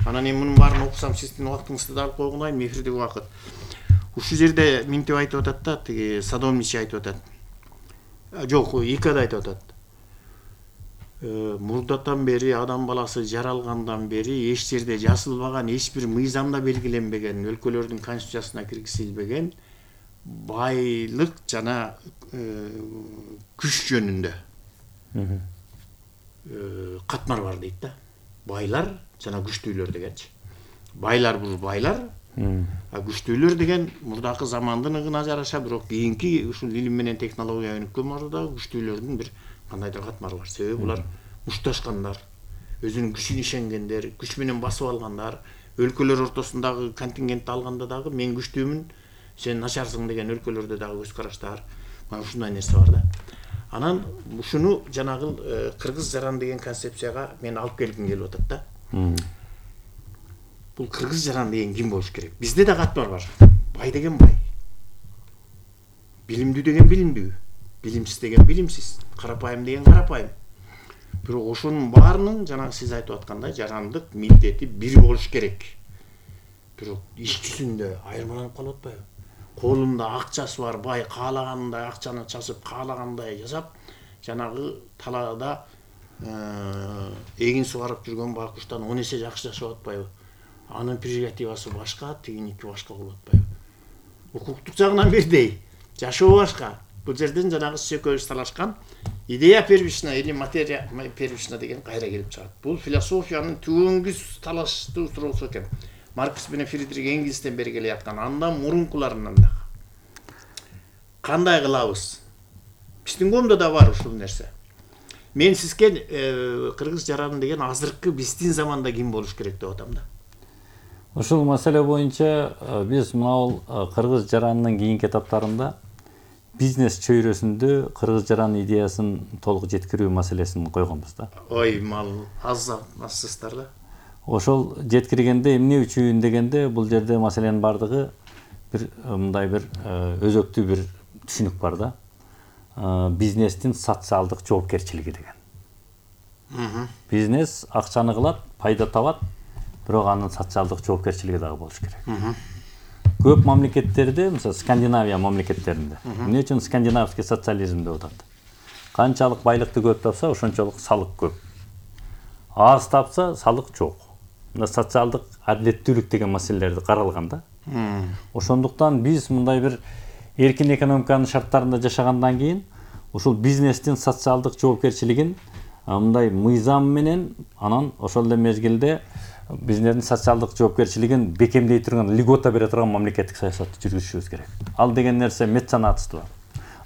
Анан эми мунун баарын окусам сиздин убактыңызды да алып койгунайм, эфирдеги убакыт. Ушул жерде минтип айтып атат да, тиги Садовничий айтып атат. Жок, Икада айтып атат. Мурдатан бери адам баласы жаралгандан бери эч жерде жазылбаган, эч бир мыйзамда белгиленбеген, өлкөлөрдүн конституциясына киргизилбеген байлык жана күч жөнүндө катмар бар дейт да. Байлар жана күчтүүлөр дегенчи. Байлар бул байлар, а күчтүүлөр деген мурдакы замандын ыгына жараша, бирок кийинки ушул илим менен технология өнүккөн маалда күчтүүлөрдүн бир кандайдыр катмары бар. Себеби булар мушташкандар, өзүнүн күчүнө ишенгендер, күч менен басып алгандар, өлкөлөр ортосундагы контингентти алганда дагы мен күчтүүмүн, сен начарсың деген өлкөлөрдө дагы көз караштар. Мына ушундай нерсе бар да. Анан ушуну жанагы кыргыз жаран деген концепцияга мен алып келгим келип атат да. Бул кыргыз жаран деген ким болуш керек? Бизде да катмар бар. Бай деген бай. Билимдүү деген билимдүү. Билимсиз деген билимсиз. Карапайым деген карапайым. Бирок ошонун баарынын жанагы сиз айтып аткандай жарандык милдети бир болуш керек. Бирок иш жүзүндө айырмаланып калып атпайбы? Колунда акчасы бар бай каалагандай акчаны часып, каалагандай жасап, жанагы талаада эгин сугарып жүргөн байкуштан он эсе жакшы жашап атпайбы? Анын прерогативасы башка, тигиники башка болуп атпайбы? Укуктук жагынан бирдей, жашоо башка. Бул жерден жанагы сиз экөөбүз талашкан идея первична или материя первична деген кайра келип чыгат. Бул философиянын түбүнгүс талаштуу суроосу экен. Маркс менен Фридрих Энгельстен бери келе жаткан, андан мурункуларынан да. Кандай кылабыз? Биздин коомдо да бар ушул нерсе. Мен сизге кыргыз жараны деген азыркы биздин заманда ким болуш керек деп атам да. Ушул маселе боюнча биз мына кыргыз жаранынын кийинки этаптарында бизнес чөйрөсүндө кыргыз жараны идеясын толук жеткирүү маселесин койгонбуз да. Ой, мал аз азсыздар да. Ошол жеткиргенде эмне үчүн дегенде бул жерде маселенин бардыгы бир мындай бир өзөктүү бир түшүнүк бар да. Бизнестин социалдык жоопкерчилиги деген. Бизнес акчаны кылат, пайда табат, бирок анын социалдык жоопкерчилиги дагы болуш керек. Көп мамлекеттерде, мисалы Скандинавия мамлекеттеринде, эмне үчүн скандинавский социализм деп атат? Канчалык байлыкты көп тапса, ошончолук салык көп. Аз тапса, салык жок. Мына социалдык адилеттүүлүк деген маселелерди каралган да. Ошондуктан биз мындай бир эркин экономиканын шарттарында жашагандан кийин ушул бизнестин социалдык жоопкерчилигин мындай мыйзам менен, анан ошол эле мезгилде бизнестин социалдык жоопкерчилигин бекемдей турган, льгота бере турган мамлекеттик саясатты жүргүзүшүбүз керек. Ал деген нерсе меценатство.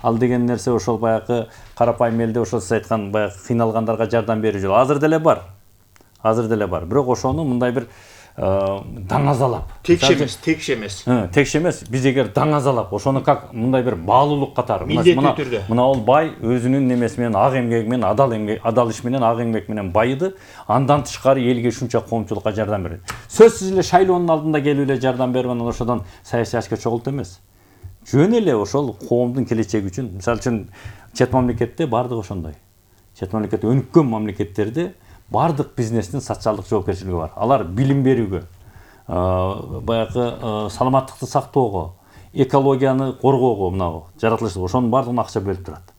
Ал деген нерсе ошол баягы карапайым элде ошол сиз айткан баягы кыйналгандарга жардам берүү жолу азыр деле бар. Азыр деле бар. Бирок ошону мындай бир даңазалап. Текше эмес, текше эмес. Текше эмес. Биз эгер даңазалап, ошону как мындай бир баалуулук катары. Мына түрдө. Мына ол бай өзүнүн немеси менен ак эмгеги менен, адал эмгек, адал иш менен, ак эмгек менен байыды. Андан тышкары элге ушунча коомчулукка жардам берет. Сөзсүз эле шайлоонун алдында келип эле жардам берип анан ошодон саясий ашка чогулт эмес. Жөн эле ошол коомдун келечеги үчүн, мисалы үчүн чет мамлекетте бардыгы ошондой. Чет мамлекетте өнүккөн мамлекеттерде бардык бизнестин социалдык жоопкерчилиги бар. Алар билим берүүгө, баягы саламаттыкты сактоого, экологияны коргоого, мына жаратылыш ошонун бардыгына акча бөлүп турат.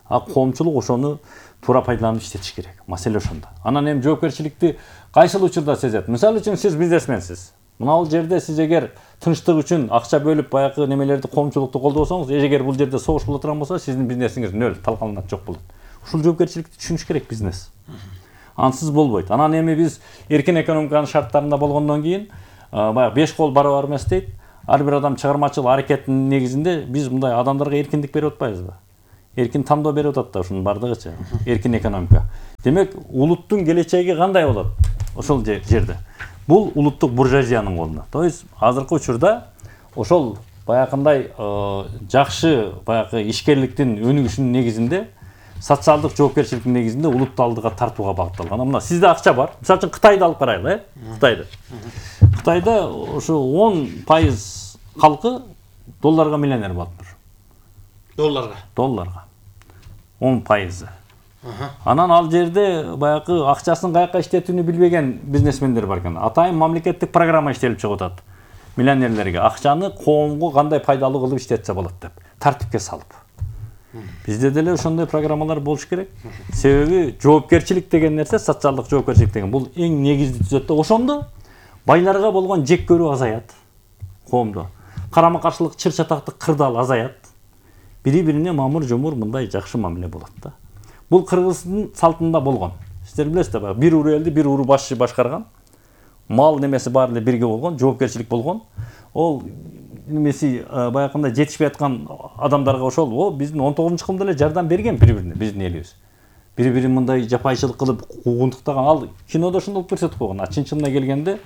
А коомчулук ошону туура пайдаланып иштетиш керек. Маселе ошондо. Анан эми жоопкерчиликти кайсыл учурда сезет? Мисалы үчүн сиз бизнесменсиз. Мына бул жерде сиз эгер тынчтык үчүн акча бөлүп баягы немелерди коомчулукту колдосоңуз, эгер бул жерде согуш боло турган болсо, сиздин бизнесиңиз нөл, талкаланат, жок болот. Ушул жоопкерчиликти түшүнүш керек бизнес. ансыз болбойт. Анан эми биз эркин экономиканын шарттарында болгондон кийин баягы беш кол барабар эмес дейт. Ар бир адам чыгармачыл аракеттин негизинде биз мындай адамдарга эркиндик берип атпайбызбы? Эркин тандоо берип атат да ушунун бардыгычы. Эркин экономика. Демек, улуттун келечеги кандай болот? Ошол жерде. Бул улуттук буржуазиянын колунда. То есть азыркы учурда ошол баягындай жакшы баягы ишкерликтин өнүгүшүнүн негизинде социалдык жоопкерчиликтин негизинде улутту алдыга тартууга багытталган. Мына сизде акча бар. Мисалы үчүн Кытайды алып карайлы, э? Кытайды. Кытайда ошо он пайыз калкы долларга миллионер болуптур. Долларга. Долларга. он пайызы. Анан ал жерде баягы акчасын каяка иштетүүнү билбеген бизнесмендер бар экен. Атайын мамлекеттик программа иштелип чыгып атат. Миллионерлерге акчаны коомго кандай пайдалуу кылып иштетсе болот деп тартипке салып. Бизде деле ошондой программалар болуш керек. Себеби жоопкерчилик деген нерсе, социалдык жоопкерчилик деген бул эң негизги түзөт да. Ошондо байларга болгон жек көрүү азаят коомдо. Карама-каршылык, чыр-чатактык кырдаал азаят. Бири-бирине мамыр-жумур мындай жакшы мамиле болот да. Бул Кыргыздын салтында болгон. Сиздер билесиздер, баягы бир уру элди бир уру башчы башкарган. Мал немеси баары эле бирге болгон, жоопкерчилик болгон. Ол немеси баягындай жетишпей аткан адамдарга ошол, о биздин он тогузунчу кылымда эле жардам берген бири-бирине, биздин элибиз. Бири-бирин мындай жапайчылык кылып куугунтуктаган, ал кинодо ошондой көрсөтүп койгон. А чын-чынына келгенде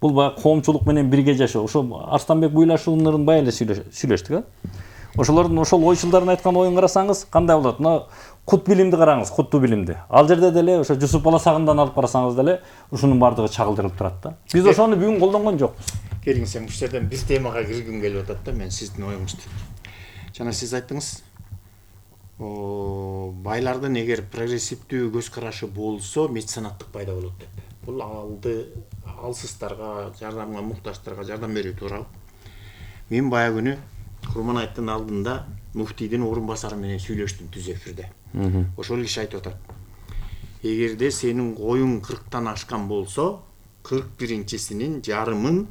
бул баягы коомчулук менен бирге жашоо. Ошо Арстанбек Буйлашууларын бай эле сүйлөштүк, а? Ошолордун ошол ойчулдарын айткан оюн карасаңыз, кандай болот? Мына кут билимди караңыз, куттуу билимди. Ал жерде деле ошо Жусуп Баласагындан алып карасаңыз деле ушунун бардыгы чагылдырылып турат да. Биз ошону бүгүн колдонгон жокпуз. Келиңиз, ушул жерден бир темага киргим келип атат да, мен сиздин оюңузду. Жана сиз айттыңыз, байлардын эгер прогрессивдүү көз карашы болсо, меценаттык пайда болот деп. Бул алды алсыздарга, жардамга муктаждарга жардам берүү тууралуу. Мен бая күнү Курманайттын алдында муфтийдин орун басары менен сүйлөштүм түз эфирде. Ошол киши айтып атат. Эгерде сенин коюң кырктан ашкан болсо, кырк биринчисинин жарымын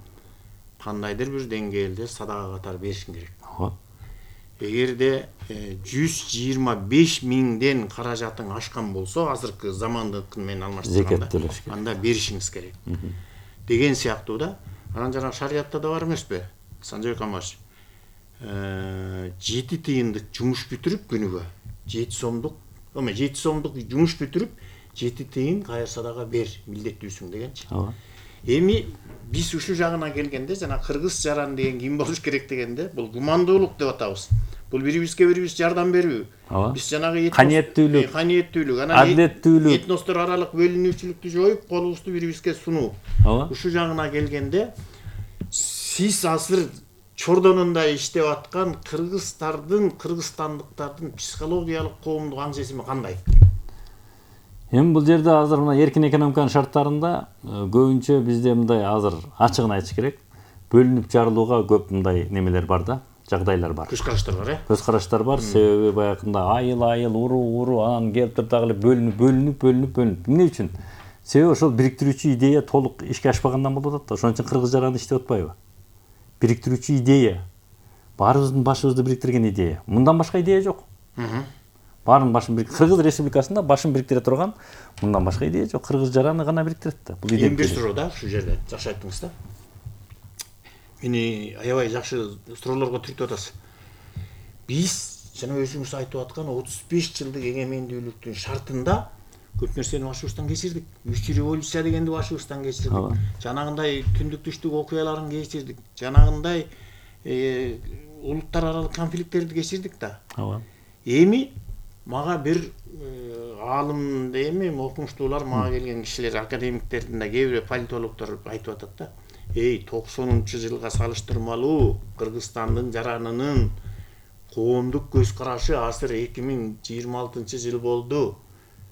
кандайдыр бир деңгээлде садага катары беришиң керек. Эгерде жүз жыйырма беш миңден каражатың ашкан болсо, азыркы замандык менен алмаштырганда, анда беришиңиз керек. Деген сыяктуу да. Анан жана шариятта да бар эмеспи? Санжабек Амаш жети тыйындык жумуш бүтүрүп күнүгө жети сомдук, эме жети сомдук жумуш бүтүрүп жети тыйын кайыр садага бер, милдеттүүсүң дегенчи. Эми биз ушул жагына келгенде жана кыргыз жаран деген ким болуш керек дегенде, бул гумандуулук деп атабыз. Бул бирибизге бирибиз жардам берүү. Биз жанагы каниеттүүлүк, каниеттүүлүк, анан адилеттүүлүк, этностор аралык бөлүнүүчүлүктү жоюп, колубузду бирибизге сунуу. Ушул жагына келгенде сиз азыр чордонунда иштеп аткан кыргыздардын, кыргызстандыктардын психологиялык коомдук аң сезими кандай? Эми бул жерде азыр мына эркин экономиканын шарттарында көбүнчө бизде мындай азыр ачыгын айтыш керек. Бөлүнүп жарылууга көп мындай немелер бар да, жагдайлар бар. Көз караштар бар, э? Көз караштар бар. Себеби баягында айыл-айыл, уру-уру анан келип туруп дагы эле бөлүнүп, бөлүнүп, бөлүнүп, бөлүнүп. Эмне үчүн? Себеби ошол бириктирүүчү идея толук ишке ашпагандан болуп атат да. Ошон үчүн кыргыз жараны иштеп атпайбы? Бириктирүүчү идея. Баарыбыздын башыбызды бириктирген идея. Мындан башка идея жок. Баарын башын бириктирип, Кыргыз Республикасында башын бириктире турган мындан башка идея жок. Кыргыз жараны гана бириктирет да. Бул идея. Эми бир суроо да, ушул жерде жакшы айттыңыз да. Мени аябай жакшы суроолорго түртүп атасыз. Биз жана өзүңүз айтып аткан отуз беш жылдык эгемендүүлүктүн шартында көп нерсени башыбыздан кечирдик. Үч революция дегенди башыбыздан кечирдик. Жанагындай түндүк түштүк окуяларын кечирдик. Жанагындай улуттар аралык конфликттерди кечирдик да. Эми мага бир аалым дейми, окумуштуулар мага келген кишилер, академиктердин да кээ бир политологдор айтып атат да. Эй, токсонунчу жылга салыштырмалуу Кыргызстандын жаранынын коомдук көз карашы азыр эки миң жыйырма алтынчы жыл болду,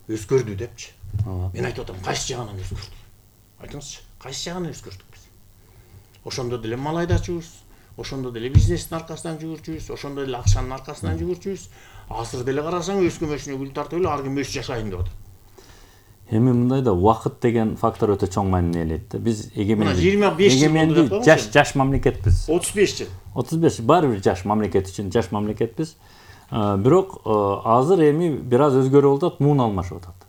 өзгөрдү депчи. Мен айтып атам, кайсы жагынан өзгөрдү? Айтыңызчы, кайсы жагынан өзгөрдүк биз? Ошондо деле мал айдачубуз, ошондо деле бизнестин аркасынан жүгүрчүбүз, ошондо деле акчанын аркасынан жүгүрчүбүз. Азыр деле карасаң өз көмөшүнө гүл тартып эле ар ким өз жашайын деп атат. Эми мындай да убакыт деген фактор өтө чоң маани ээлейт да. Биз эгемендүү жаш жаш мамлекетпиз. отуз беш жыл. отуз беш баары бир жаш мамлекет үчүн жаш мамлекетпиз. Бирок азыр эми бир аз өзгөрүп атат, муун алмашып атат.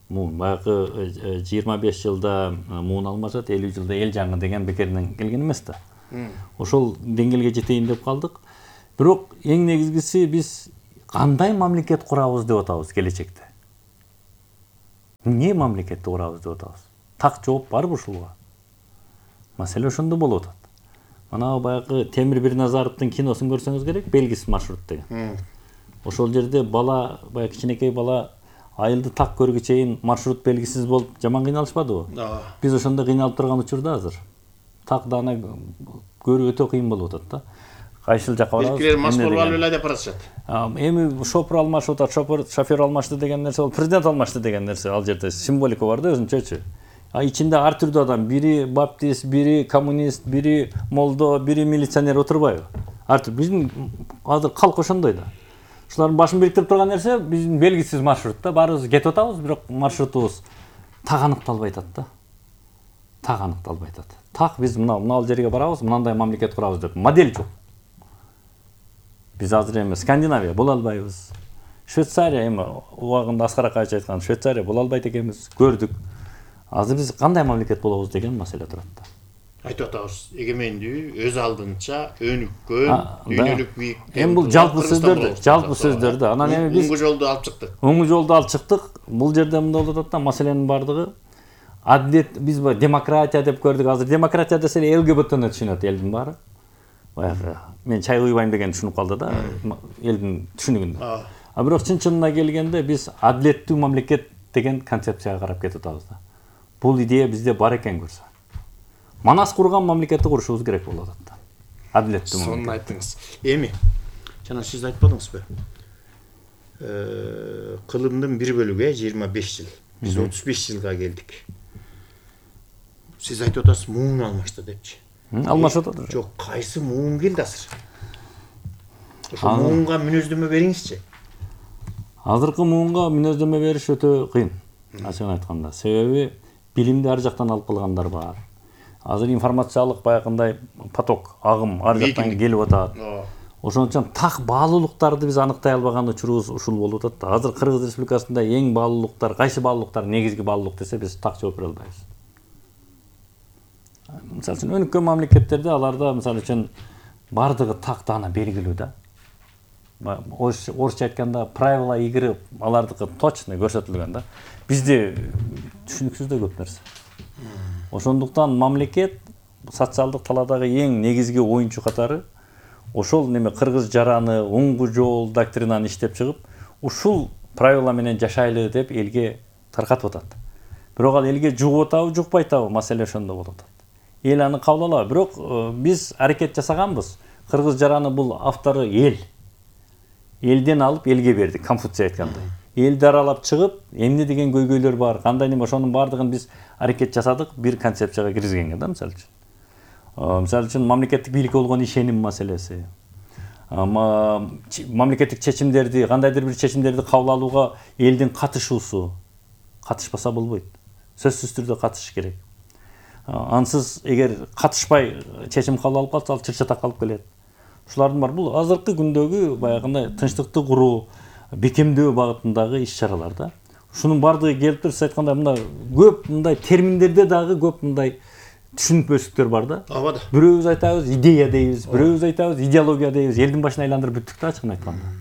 муун баягы жыйырма беш жылда муун алмашат, элүү жылда эл жаңы деген бекеринен келген эмес да. Ошол деңгээлге жетейин деп калдык. Бирок эң негизгиси биз кандай мамлекет курабыз деп атабыз келечекте. Эмне мамлекетти курабыз деп атабыз? Так жооп барбы ушулга? Маселе ошондо болуп атат. Мана баягы Темир Бирназаровдун киносун көрсөңүз керек, белгисиз маршрут деген. Ошол жерде бала, баягы кичинекей бала айылды так көргү чейин маршрут белгисиз болуп жаман кыйналышпадыбы? Биз ошондо кыйналып турган учурда азыр так даана көрүү өтө кыйын болуп атат да. Кайсыл жакка барабыз? Биркилер мас болуп алып эле деп барышат. Эми шопур алмашып атат, шопур шофер алмашты деген нерсе, ол президент алмашты деген нерсе, ал жерде символика бар да өзүнчөчү. А ичинде ар түрдүү адам, бири баптист, бири коммунист, бири молдо, бири милиционер отурбайбы? Ар түр. Биздин азыр калк ошондой да. Ушулардын башын бириктирип турган нерсе биздин белгисиз маршрут да. Баарыбыз кетип атабыз, бирок маршрутубуз так аныкталбай атат да. Так аныкталбай атат. Так биз мына мына жерге барабыз, мынандай мамлекет курабыз деп модель жок. Биз азыр эми Скандинавия боло албайбыз. Швейцария эми убагында Аскар Акаевич айткан Швейцария боло албайт экенбиз, көрдүк. Азыр биз кандай мамлекет болобуз деген маселе турат да. Айтып атабыз, эгемендүү, өз алдынча, өнүккөн, дүйнөлүк бийик. Эми бул жалпы сөздөр, жалпы сөздөр да. Анан эми биз оңгу жолду алып чыктык. Оңгу жолду алып чыктык. Бул жерде мындай болуп атат да, маселенин бардыгы адилет, биз демократия деп көрдүк. Азыр демократия десе эле ЛГБТны түшүнөт элдин баары. Баягы мен чай куйбайм деген түшүнүп калды да, элдин түшүнүгүндө. А бирок чын-чынына келгенде биз адилеттүү мамлекет деген концепцияга карап кетип атабыз да. Бул идея бизде бар экен көрсө. Манас курган мамлекетти курушубуз керек болуп атат да. Адилеттүү мамлекет. Сонун айттыңыз. Эми жана сиз айтпадыңызбы? Э, кылымдын бир бөлүгү жыйырма беш жыл. Биз отуз беш жылга келдик. Сиз айтып атасыз, муун алмашты депчи. Алмашып атат. Жок, кайсы муун келди азыр? Ошо муунга мүнөздөмө бериңизчи. Азыркы муунга мүнөздөмө бериш өтө кыйын. Ачыгын айтканда, себеби билимди ар жактан алып калгандар бар. Азыр информациялык баягындай поток, агым ар жактан келип атат. Ошон үчүн так баалуулуктарды биз аныктай албаган учурубуз ушул болуп атат да. Азыр Кыргыз Республикасында эң баалуулуктар, кайсы баалуулуктар негизги баалуулук десе биз так жооп бере албайбыз. Мисалы үчүн өнүккөн мамлекеттерде аларда мисалы үчүн бардыгы так даана белгилүү да. Орусча айтканда правила игры алардыкы точно көрсөтүлгөн да. Бизде түшүнүксүз да көп нерсе. Ошондуктан мамлекет социалдык таладагы эң негизги оюнчу катары ошол неме кыргыз жараны, оңгу жол доктринаны иштеп чыгып, ушул правила менен жашайлы деп элге таркатып атат. Бирок ал элге жугуп атабы, жукпай атабы, маселе ошондо болуп атат. Эл аны кабыл алабы, бирок биз аракет жасаганбыз. Кыргыз жараны бул автору эл. Элден алып элге бердик, Конфуций айткандай. Элди аралап чыгып, эмне деген көйгөйлөр бар, кандай неме, ошонун бардыгын биз аракет жасадык, бир концепцияга киргизгенге да, мисалы үчүн. Мисалы үчүн мамлекеттик бийликке болгон ишеним маселеси. Мамлекеттик чечимдерди, кандайдыр бир чечимдерди кабыл алууга элдин катышуусу. Катышпаса болбойт. Сөзсүз түрдө катышыш керек. Ансыз эгер катышпай чечим кабыл алып калса, ал чырчата калып келет. Ушулардын бар. Бул азыркы күндөгү баягындай тынчтыкты куруу, бекемдөө багытындагы иш-чаралар да. Ушунун бардыгы келип туруп, сиз айткандай мына көп мындай терминдерде дагы көп мындай түшүнүкпөстүктөр бар да. Ооба да. Бирөөбүз айтабыз идея дейбиз, бирөөбүз айтабыз идеология дейбиз. Элдин башын айландырып бүттүк да, ачыгын айтканда.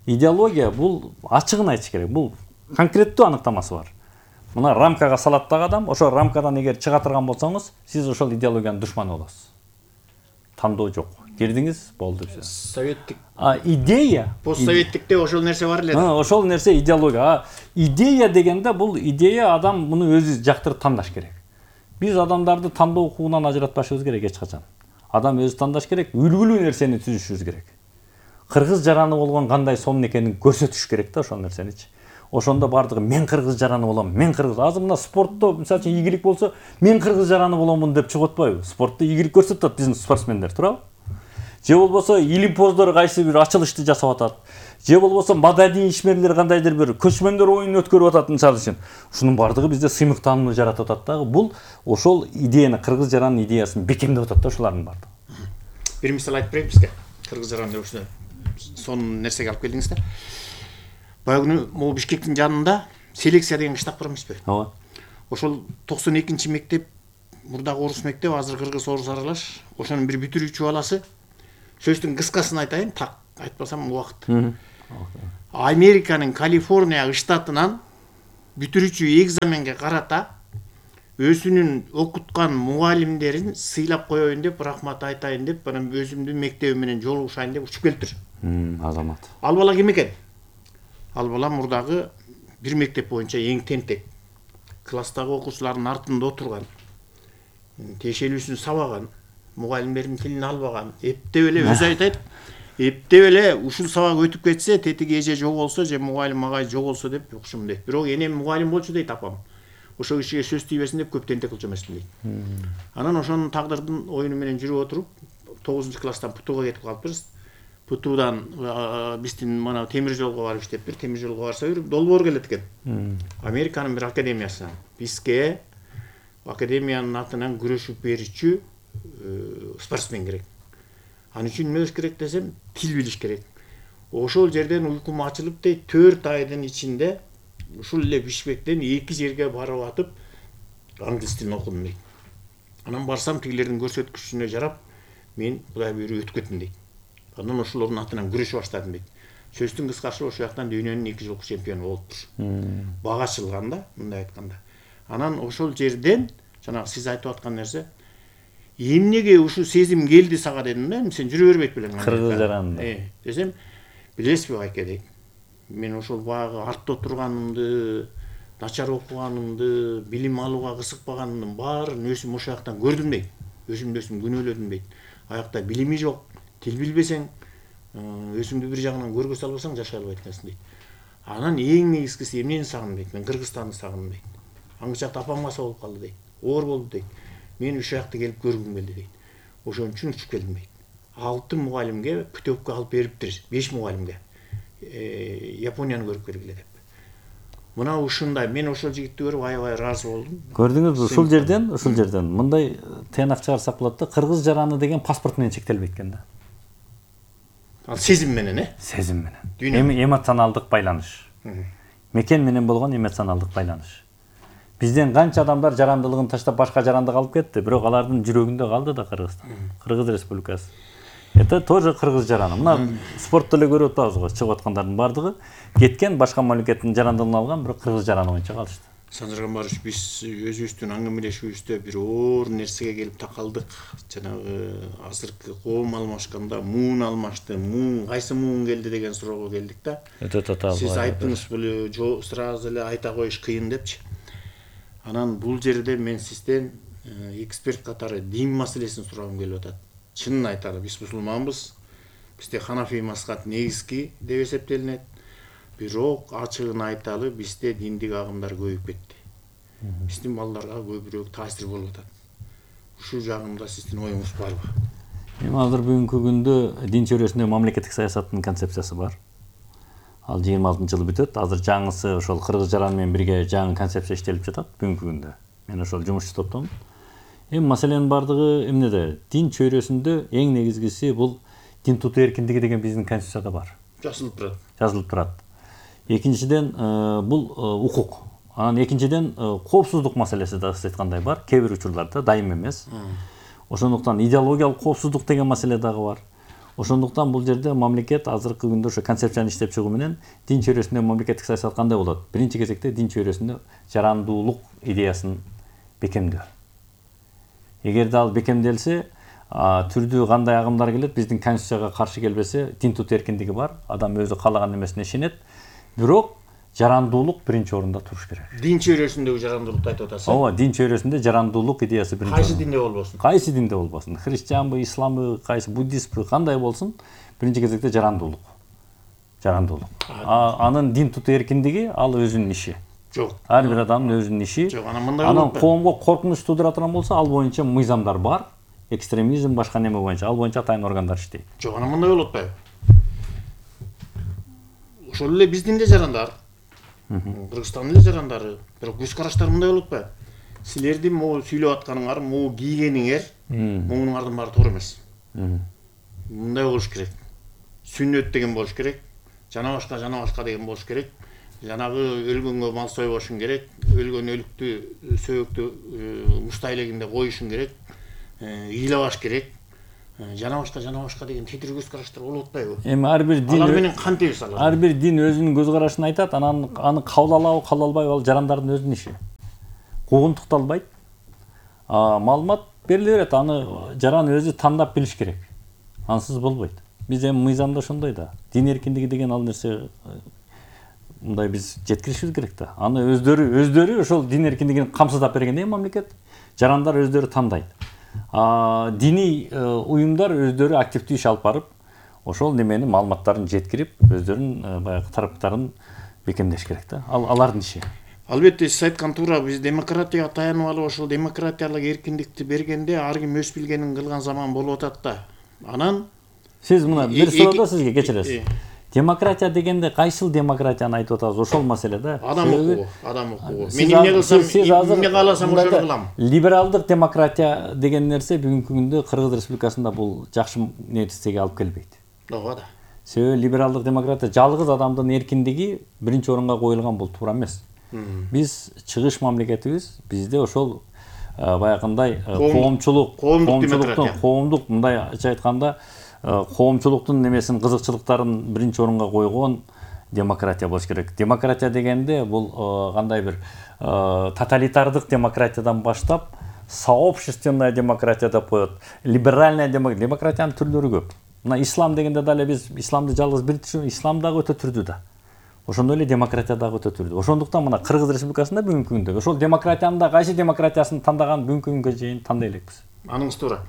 Идеология бул ачыгын айтыш керек. Бул конкреттүү аныктамасы бар. Мына рамкага салат дагы адам, ошол рамкадан эгер чыга турган болсоңуз, сиз ошол идеологиянын душманы болосуз. Тандоо жок. Кирдиңиз, болду все. Советтик. А идея, постсоветтикте ошол нерсе бар эле. А, ошол нерсе идеология. А идея дегенде бул идея адам муну өзү жактырып тандаш керек. Биз адамдарды тандоо укугунан ажыратпашыбыз керек эч качан. Адам өзү тандаш керек, үлгүлүү нерсени түзүшүбүз керек. Кыргыз жараны болгон кандай сонун экенин көрсөтүш керек да ошол нерсеничи. Ошондо бардыгы мен кыргыз жараны болом, мен кыргыз. Азыр мына спортто мисалы үчүн ийгилик болсо, мен кыргыз жараны боломун деп чыгып атпайбы? Спортто ийгилик көрсөтүп атат биздин спортсмендер, туурабы? Же болбосо илимпоздор кайсы бир ачылышты жасап атат. Же болбосо маданий ишмерлер кандайдыр бир көчмөндөр оюнун өткөрүп атат мисалы үчүн. Ушунун бардыгы бизде сыймык таанымды жаратып атат дагы. Бул ошол идеяны, кыргыз жаранын идеясын бекемдеп атат да ошолардын бардыгы. Бир мисал айтып берейин бизге. Кыргыз жараны деп ушуну сонун нерсеге алып келдиңиз да. Баягы күнү могу Бишкектин жанында селекция деген кыштак бар эмеспи? ооба. Ошол токсон экинчи мектеп, мурдагы орус мектеп, азыр кыргыз орус аралаш. Ошонун бир бүтүрүүчү баласы. Сөздүн кыскасын айтайын, так айтпасам убакыт. Американын Калифорния штатынан бүтүрүүчү экзаменге карата өзүнүн окуткан мугалимдерин сыйлап коеюн деп, рахмат айтайын деп, анан өзүмдүн мектебим менен жолугушайын деп учуп келиптир. Азамат. Ал бала ким экен? Ал бала мурдагы бир мектеп боюнча эң тентек. Класстагы окуучулардын артында отурган, тиешелүүсүн сабаган, мугалимдердин тилин албаган, эптеп эле өзү айтат. Эптеп эле ушул сабак өтүп кетсе, тетиги эже жоголсо же мугалим агай жоголсо деп укшум дейт. Бирок энем мугалим болчу дейт апам. Ошо кишиге сөз тийбесин деп көп тентек кылчу эмесмин дейт. Анан ошонун тагдырдын оюну менен жүрүп отуруп, тогузунчу класстан Путууга кетип калыппыз. Путуудан биздин мына темир жолго барып иштептир. Темир жолго барса берип долбоор келет экен. Американын бир академиясынан бизге академиянын атынан күрөшүп берүүчү спортсмен керек. Анын үчүн эмне керек десем, тил билиш керек. Ошол жерден уйкум ачылып дейт, төрт айдын ичинде ушул эле Бишкектен эки жерге барып атып англис тилин окудум дейт. Анан барсам тигилердин көрсөткүчүнө жарап, мен Кудай буйруп өтүп кеттим дейт. Андан ошолордун атынан күрөшүп баштадым дейт. Сөздүн кыскасы ошол жактан дүйнөнүн эки жылкы чемпиону болуптур. Бага ачылганда, мындай айтканда. Анан ошол жерден жанагы сиз айтып аткан нерсе, эмнеге ушул сезим келди сага дедим да, сен жүрө бербейт белең. Кыргыз жаранында. Э, десем, билесизби байке дейт. Мен ошол баягы артта отурганымды, начар окуганымды, билим алууга кызыкпаганымдын баарын өзүм ошол жактан көрдүм дейт. Өзүмдү өзүм күнөөлөдүм дейт. Аякта билими жок, тил билбесең, өзүңдү бир жагынан көргө салбасаң жашай албайт экенсиң дейт. Анан эң негизгиси эмнени сагындым дейт. Мен Кыргызстанды сагындым дейт. Аңгы жакта апам каса болуп калды дейт. Оор болду дейт. Мен ушул жакты келип көргүм келди дейт. Ошон үчүн учуп келдим дейт. Алты мугалимге путевка алып бериптир, беш мугалимге. Японияны көрүп келгиле деп. Мына ушундай, мен ошол жигитти көрүп аябай ыраазы болдум. Көрдүңүзбү, ушул жерден, ушул жерден мындай тыянак чыгарсак болот да, кыргыз жараны деген паспорт менен чектелбейт экен да. Ал сезим менен, э? Сезим менен. Эмоционалдык байланыш. Мекен менен болгон эмоционалдык байланыш. Бизден канча адамдар жарандылыгын таштап башка жарандыга алып кетти, бирок алардын жүрөгүндө калды да Кыргызстан. Кыргыз Республикасы. Это тоже кыргыз жараны. Мына спортто эле көрүп атабыз го, чыгып аткандардын бардыгы кеткен башка мамлекеттин жарандыгын алган, бирок кыргыз жараны боюнча калышты. Санжар Гамбарович, биз өзүбүздүн аңгемелешүүбүздө бир оор нерсеге келип такалдык. Жанагы азыркы коом алмашканда муун алмашты, муун кайсы муун келди деген суроого келдик да. Өтө татаал. Сиз айттыңыз, бул сразу эле айта коюш кыйын депчи. Анан бул жерде мен сизден эксперт катары дин маселесин сурагым келип атат. Чынын айталы, биз мусулманбыз. Бизде Ханафи мазхаб негизги деп эсептелинет. Бирок ачыгын айталы, бизде диндик агымдар көбөйүп кетти. Биздин балдарга көбүрөөк таасир болуп атат. Ушул жагында сиздин оюңуз барбы? Эми азыр бүгүнкү күндө дин чөйрөсүндө мамлекеттик саясаттын концепциясы бар. Ал жыйырма алтынчы жылы бүтөт. Азыр жаңысы ошол кыргыз жараны менен бирге жаңы концепция иштелип жатат бүгүнкү күндө. Мен ошол жумушчу топтомун. Эми маселенин бардыгы эмнеде? Дин чөйрөсүндө эң негизгиси бул дин тутуу эркиндиги деген биздин конституцияда бар. Жазылып турат. Жазылып турат. Экинчиден бул укук. Анан экинчиден коопсуздук маселеси да айткандай бар. Кээ бир учурларда дайым эмес. Ошондуктан идеологиялык коопсуздук деген маселе дагы бар. Ошондуктан бул жерде мамлекет азыркы күндө ошо концепцияны иштеп чыгуу менен дин чөйрөсүндө мамлекеттик саясат кандай болот? Биринчи кезекте дин чөйрөсүндө жарандуулук идеясын бекемдөө. Эгерде ал бекемделсе, түрдүү кандай агымдар келет, биздин конституцияга каршы келбесе, дин тутуу эркиндиги бар, адам өзү каалаган эмесине ишенет. Бирок жарандуулук биринчи орунда туруш керек. Дин чөйрөсүндөгү жарандуулукту айтып атасыз? Ооба, дин чөйрөсүндө жарандуулук идеясы биринчи. Кайсы динде болбосун? Кайсы динде болбосун? Христианбы, исламбы, кайсы буддистпи, кандай болсун? Биринчи кезекте жарандуулук. Жарандуулук. Анын дин тутуу эркиндиги ал өзүнүн иши. Жок. Ар бир адамдын өзүнүн иши. Жок, анан мындай болот. Анан коомго коркунуч туудура турган болсо, ал боюнча мыйзамдар бар. Экстремизм башка неме боюнча, ал боюнча атайын органдар иштейт. Жок, анан мындай болуп атпайбы? Ошол эле биздин да жарандар, Кыргызстандын эле жарандары, бирок көз караштары мындай болуп атпайбы? Силердин могу сүйлөп атканыңар, могу кийгениңер, могунуңардын баары туура эмес. Мындай болуш керек. Сүннөт деген болуш керек. Жана башка, жана башка деген болуш керек. жанагы өлгөнгө мал сойбошуң керек, өлгөн өлүктү сөйөктү мушта илегинде коюшуң керек, ыйлабаш керек. Жана башка жана башка деген тетир көз караштар болуп атпайбы? Эми ар бир дин алар менен кантебиз алар? Ар бир дин өзүнүн көз карашын айтат, анан аны кабыл алабы, кабыл албайбы ал жарандардын өзүнүн иши. Куугунтукталбайт. Маалымат бериле берет, аны жаран өзү тандап билиш керек. Ансыз болбойт. Биз эми мыйзамда ошондой да. Дин эркиндиги деген ал нерсе мындай биз жеткиришибиз керек да. Аны өздөрү өздөрү ошол дин эркиндигин камсыздап бергенде мамлекет жарандар өздөрү тандайт. А диний уюмдар өздөрү активдүү иш алып барып, ошол немени маалыматтарын жеткирип, өздөрүнүн баягы тараптарын бекемдеш керек да. Ал алардын иши. Албетте сиз айткан туура, биз демократияга таянып алып ошол демократиялык эркиндикти бергенде ар ким өз билгенин кылган заман болуп атат да. Анан сиз мына бир суроодо сизге кечиресиз. Демократия дегенде кайсыл демократияны айтып атабыз? Ошол маселе да. Адам укугу, адам укугу. Мен эмне кылсам, эмне кааласам ошону кылам. Либералдык демократия деген нерсе бүгүнкү күндө Кыргыз Республикасында бул жакшы нетижеге алып келбейт. Ооба да. Себеби либералдык демократия жалгыз адамдын эркиндиги биринчи орунга коюлган, бул туура эмес. Биз чыгыш мамлекетибиз, бизде ошол баягындай коомчулук, коомчулуктун, коомдук мындайча айтканда коомчулуктун немесин, кызыкчылыктарын биринчи орунга койгон демократия болуш керек. Демократия дегенде бул кандай бир тоталитардык демократиядан баштап сообщественная демократия деп коет, либеральная демократия. Демократиянын түрлөрү көп. Мына ислам дегенде дагы biz исламды жалгыз бир түшүн, ислам дагы өтө түрдүү да. Ошондой эле демократия дагы өтө түрдүү. Ошондуктан мына Кыргыз Республикасында бүгүнкү күндө ошол демократиянын да кайсы демократиясын тандаган бүгүнкү күнгө чейин тандай элекпиз. Аныңыз туура.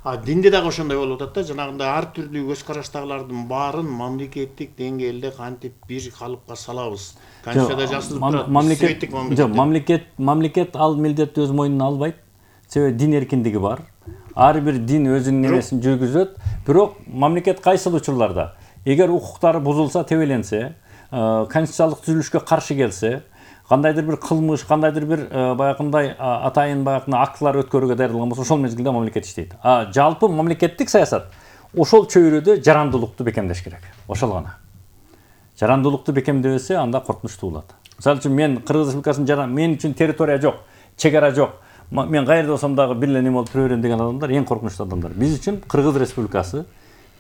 А динде дагы ошондой болуп атат да, жанагындай ар түрдүү көз караштагылардын баарын мамлекеттик деңгээлде кантип бир калыпка салабыз. Конституцияда жазылып турат. Мамлекет, жок, мамлекет, мамлекет ал милдетти өз мойнуна албайт. Себеби дин эркиндиги бар. Ар бир дин өзүнүн немесин жүргүзөт. Бирок мамлекет кайсыл учурларда эгер укуктары бузулса, тебеленсе, конституциялык түзүлүшкө каршы келсе, кандайдыр бир кылмыш, кандайдыр бир баягындай атайын баягы актылар өткөрүүгө даярдалган болсо, ошол мезгилде мамлекет иштейт. А жалпы мамлекеттик саясат ошол чөйрөдө жарандуулукту бекемдеш керек. Ошол гана. Жарандуулукту бекемдебесе, анда коркунучтуу болот. Мисалы үчүн мен Кыргыз Республикасынын жаран, мен үчүн территория жок, чек ара жок. Мен кайерде болсом дагы бир эле неме болуп тура берем деген адамдар эң коркунучтуу адамдар. Биз үчүн Кыргыз Республикасы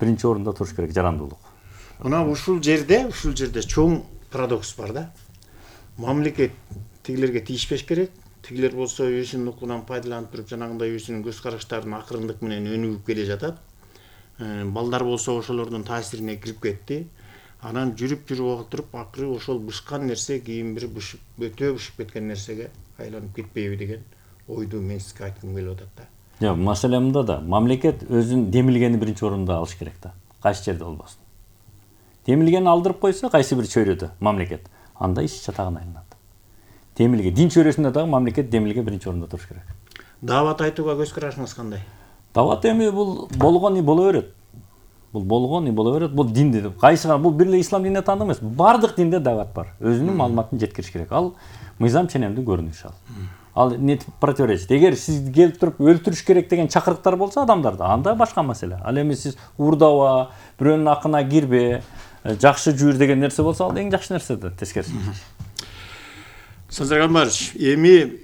биринчи орунда туруш керек, жарандуулук. Мына ушул жерде, ушул жерде чоң парадокс бар да. Мамлекет тигилерге тийишпеш керек. Тигилер болсо өзүнүн укугунан пайдаланып туруп, жанагындай өзүнүн көз караштарын акырындык менен өнүгүп келе жатат. Балдар болсо ошолордун таасирине кирип кетти. Анан жүрүп жүрүп отуруп, акыры ошол бышкан нерсе кийин бир бышып, өтө бышып кеткен нерсеге айланып кетпейби деген ойду мен сизге айткым келип атат да. Жок, маселе мында да. Мамлекет өзүн демилгени биринчи орунда алыш керек да. Кайсы жерде болбосун. Демилгени алдырып койсо, кайсы бир чөйрөдө мамлекет, анда иш чатагына айланат. Демилге, дин чөйрөсүндө дагы мамлекет демилге биринчи орунда туруш керек. Дават айтууга көз карашыңыз кандай? Дават эми бул болгон и боло берет. Бул болгон и боло берет. Бул динде, кайсыга, бул бир эле ислам динине таандык эмес. Бардык динде дават бар. Өзүнүн маалыматын жеткириш керек. Ал мыйзам ченемдүү көрүнүш ал. Ал не противоречит. Эгер сиз келип туруп өлтүрүш керек деген чакырыктар болсо адамдарды, анда башка маселе. Ал эми сиз урдаба, бирөөнүн акына кирбе, жакшы жүрүр деген нерсе болсо, ал эң жакшы нерсе да, тескериси. Сансар Гамбарович, эми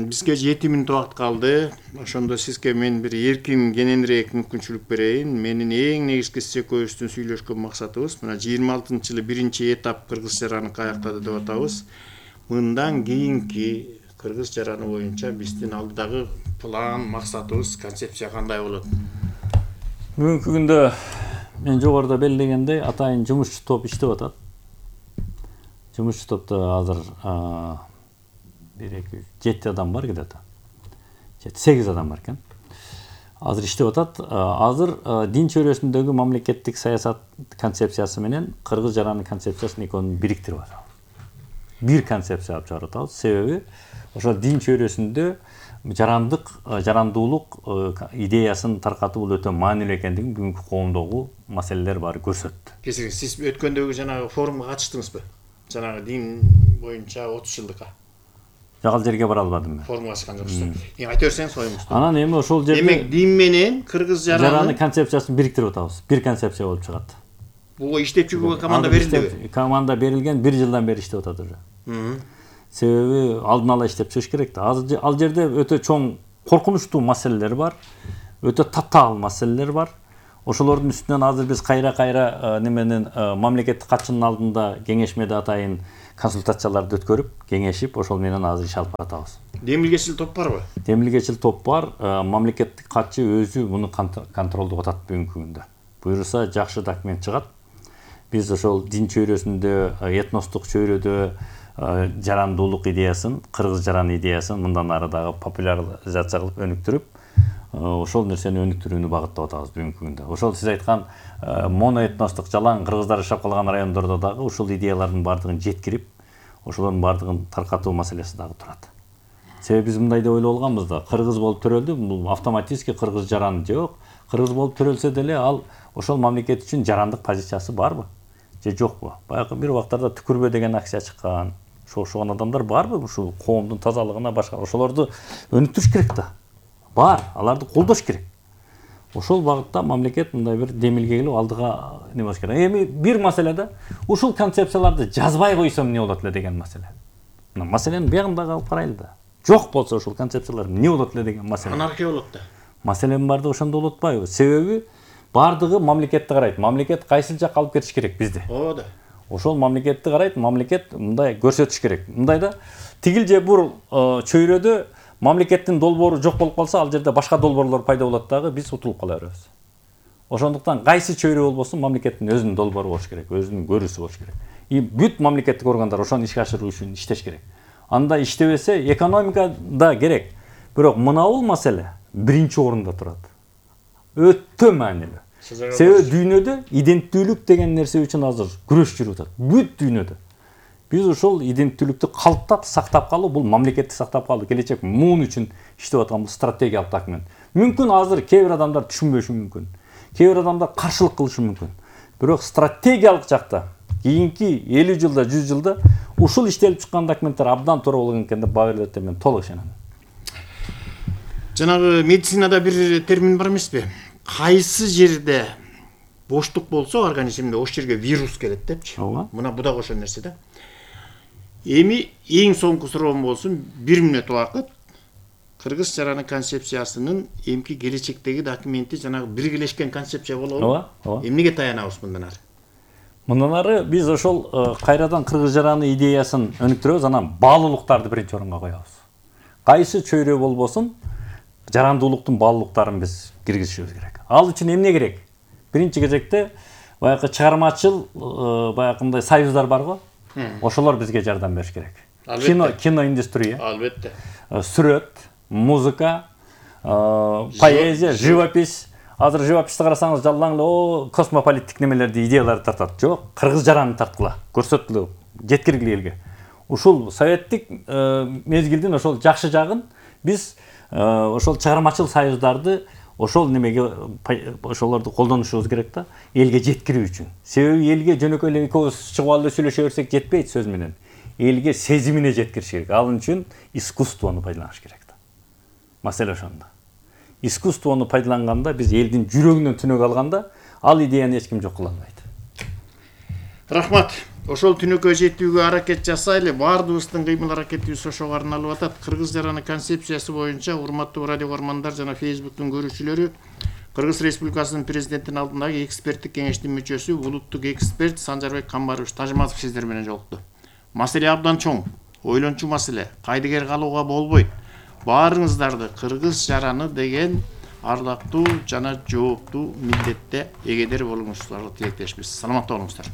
бизге жети мүнөт убакыт калды. Ошондо сизге мен бир эркин кененирээк мүмкүнчүлүк берейин. Менин эң негизги сиз экөөбүздүн сүйлөшкөн максатыбыз мына жыйырма алтынчы жылы биринчи этап кыргыз жараны каяктады деп атабыз. Мындан кийинки кыргыз жараны боюнча биздин алдыдагы план, максатыбыз, концепция кандай болот? Бүгүнкү күндө мен жогоруда белгилегендей атайын жумушчу топ иштеп атат. Жумушчу топто азыр бир эки жети адам бар где-то. жети сегиз адам бар экен. Азыр иштеп атат. Азыр дин чөйрөсүндөгү мамлекеттик саясат концепциясы менен кыргыз жараны концепциясын экөөнүн бириктирип атабыз. Бир концепция алып чыгарып атабыз. Себеби ошол дин чөйрөсүндө жарандык, жарандуулук идеясын таркатуу бул өтө маанилүү экендигин бүгүнкү коомдогу маселелер баары көрсөттү. Кесириңиз, сиз өткөндөгү жанагы форумга катыштыңызбы? Жанагы дин боюнча отуз жылдыкка. Жок, ал жерге бара албадым мен. Форумга чыккан жоксуз. Эми айта берсеңиз оюңузду. Анан эми ошол жерде демек дин менен кыргыз жараны концепциясын бириктирип атабыз. Бир концепция болуп чыгат. буга иштеп жүрүүгө команда берилдиби? Команда берилген, бир жылдан бери иштеп атат уже. Себеби алдын ала иштеп чыгыш керек да. Ал жерде өтө чоң коркунучтуу маселелер бар, өтө татаал маселелер бар. Ошолордун үстүнөн азыр биз кайра-кайра неменен мамлекеттик катчынын алдында кеңешмеде атайын консультацияларды өткөрүп, кеңешип, ошол менен азыр иш алып баратабыз. Демилгечил топ барбы? Демилгечил топ бар. Мамлекеттик катчы өзү муну контролдоп атат бүгүнкү күндө. Буюрса жакшы документ чыгат. Биз ошол дин чөйрөсүндө, этностук чөйрөдө жарандуулук идеясын, кыргыз жаран идеясын мындан ары дагы популяризация кылып өнүктүрүп, ошол нерсени өнүктүрүүнү багыттап атабыз бүгүнкү күндө. Ошол сиз айткан моноэтностук жалаң кыргыздар жашап калган райондордо дагы ушул идеялардын баардыгын жеткирип, ошолордун баардыгын таркатуу маселеси дагы турат. Себеби биз мындай деп ойлоп алганбыз да, кыргыз болуп төрөлдү, бул автоматически кыргыз жаран жок. Кыргыз болуп төрөлсө деле ал ошол мамлекет үчүн жарандык позициясы барбы? Же жокпу? Баягы бир убактарда түкүрбө деген акция чыккан. Шошуган адамдар барбы ушул коомдун тазалыгына башка? Ошолорду өнүктүрүш керек да. Бар, аларды колдош керек. Ошол багытта мамлекет мындай бир демилге келип алдыга не болуш керек. Эми бир маселе да, ушул концепцияларды жазбай койсом эмне болот эле деген маселе. Мына маселенин бягын дагы алып карайлы да. Жок болсо ушул концепциялар эмне болот эле деген маселе. Анархия болот да. Маселенин баардыгы ошондо болуп атпайбы? Себеби баардыгы мамлекетти карайт. Мамлекет кайсыл жакка алып кетиш керек бизди? Ооба да. Ошол мамлекетти карайт, мамлекет мындай көрсөтүш керек. Мындай да, тигил же бул чөйрөдө мамлекеттин долбоору жок болуп калса, ал жерде башка долбоорлор пайда болот дагы, биз утулуп кала беребиз. Ошондуктан кайсы чөйрө болбосун мамлекеттин өзүнүн долбоору болуш керек, өзүнүн көрүүсү болуш керек. И бүт мамлекеттик органдар ошону ишке ашыруу үчүн иштеш керек. Анда иштебесе экономика да керек. Бирок мынабул маселе биринчи орунда турат. Өтө маанилүү. Себеби дүйнөдө иденттүүлүк деген нерсе үчүн азыр күрөш жүрүп атат. Бүт дүйнөдө. Биз ошол иденттүүлүктү калыптап, сактап калуу, бул мамлекетти сактап калуу, келечек муун үчүн иштеп аткан бул стратегиялык документ. Мүмкүн азыр кээ бир адамдар түшүнбөшү мүмкүн. Кээ бир адамдар каршылык кылышы мүмкүн. Бирок стратегиялык жакта кийинки элүү жылда, жүз жылда ушул иштелип чыккан документтер абдан туура болгон экен деп баа берилет деп мен толук ишенем. Жанагы медицинада бир термин бар эмеспи? Кайсы жерде боштук болсо организмде ошол жерге вирус келет депчи. Мына бу дагы ошол нерсе да. Эми эң соңку суроом болсун, бир мүнөт убакыт кыргыз жараны концепциясынын эмки келечектеги документи жанагы биргелешкен концепция болобу? Ооба, ооба. Эмнеге таянабыз мындан ары? Мындан ары биз ошол кайрадан кыргыз жараны идеясын өнүктүрөбүз, анан баалуулуктарды биринчи орунга коебуз. Кайсы чөйрө болбосун, жарандуулуктун баалуулуктарын биз киргизишибиз керек. Ал үчүн эмне керек? Биринчи кезекте баягы чыгармачыл баягындай союздар бар го. Ошолор бизге жардам бериш керек. Кино, кино индустрия. Албетте. Сүрөт, музыка, поэзия, живопись. Азыр живописти карасаңыз жалаң эле о космополиттик немелерди, идеяларды тартат. Жок, кыргыз жараны тарткыла, көрсөткүлө, жеткиргиле элге. Ушул советтик мезгилдин ошол жакшы жагын биз ошол чыгармачыл союздарды ошол немеге ошолорду колдонушубуз керек да, элге жеткирүү үчүн. Себеби элге жөнөкөй эле экөөбүз чыгып алып сүйлөшө берсек жетпейт сөз менен. Элге сезимине жеткириш керек. Ал үчүн искусствону пайдаланыш керек да. Маселе ошондо. Искусствону пайдаланганда биз элдин жүрөгүнөн түнөк алганда, ал идеяны эч ким жок кыла албайт. Рахмат. Ошол түнөккө жетүүгө аракет жасайлы. Баардыгыбыздын кыймыл аракетибиз ошого арналып атат. Кыргыз жараны концепциясы боюнча урматтуу радио көрөрмандар жана Facebook'тун көрүүчүлөрү, Кыргыз Республикасынын президентинин алдындагы эксперттик кеңештин мүчөсү, улуттук эксперт Санжарбек Камбарович Тажматов сиздер менен жолукту. Маселе абдан чоң, ойлончу маселе, кайдыгер калууга болбойт. Баарыңыздарды кыргыз жараны деген ардактуу жана жооптуу милдетте эгедер болуңуздарга тилектешпиз. Саламатта болуңуздар.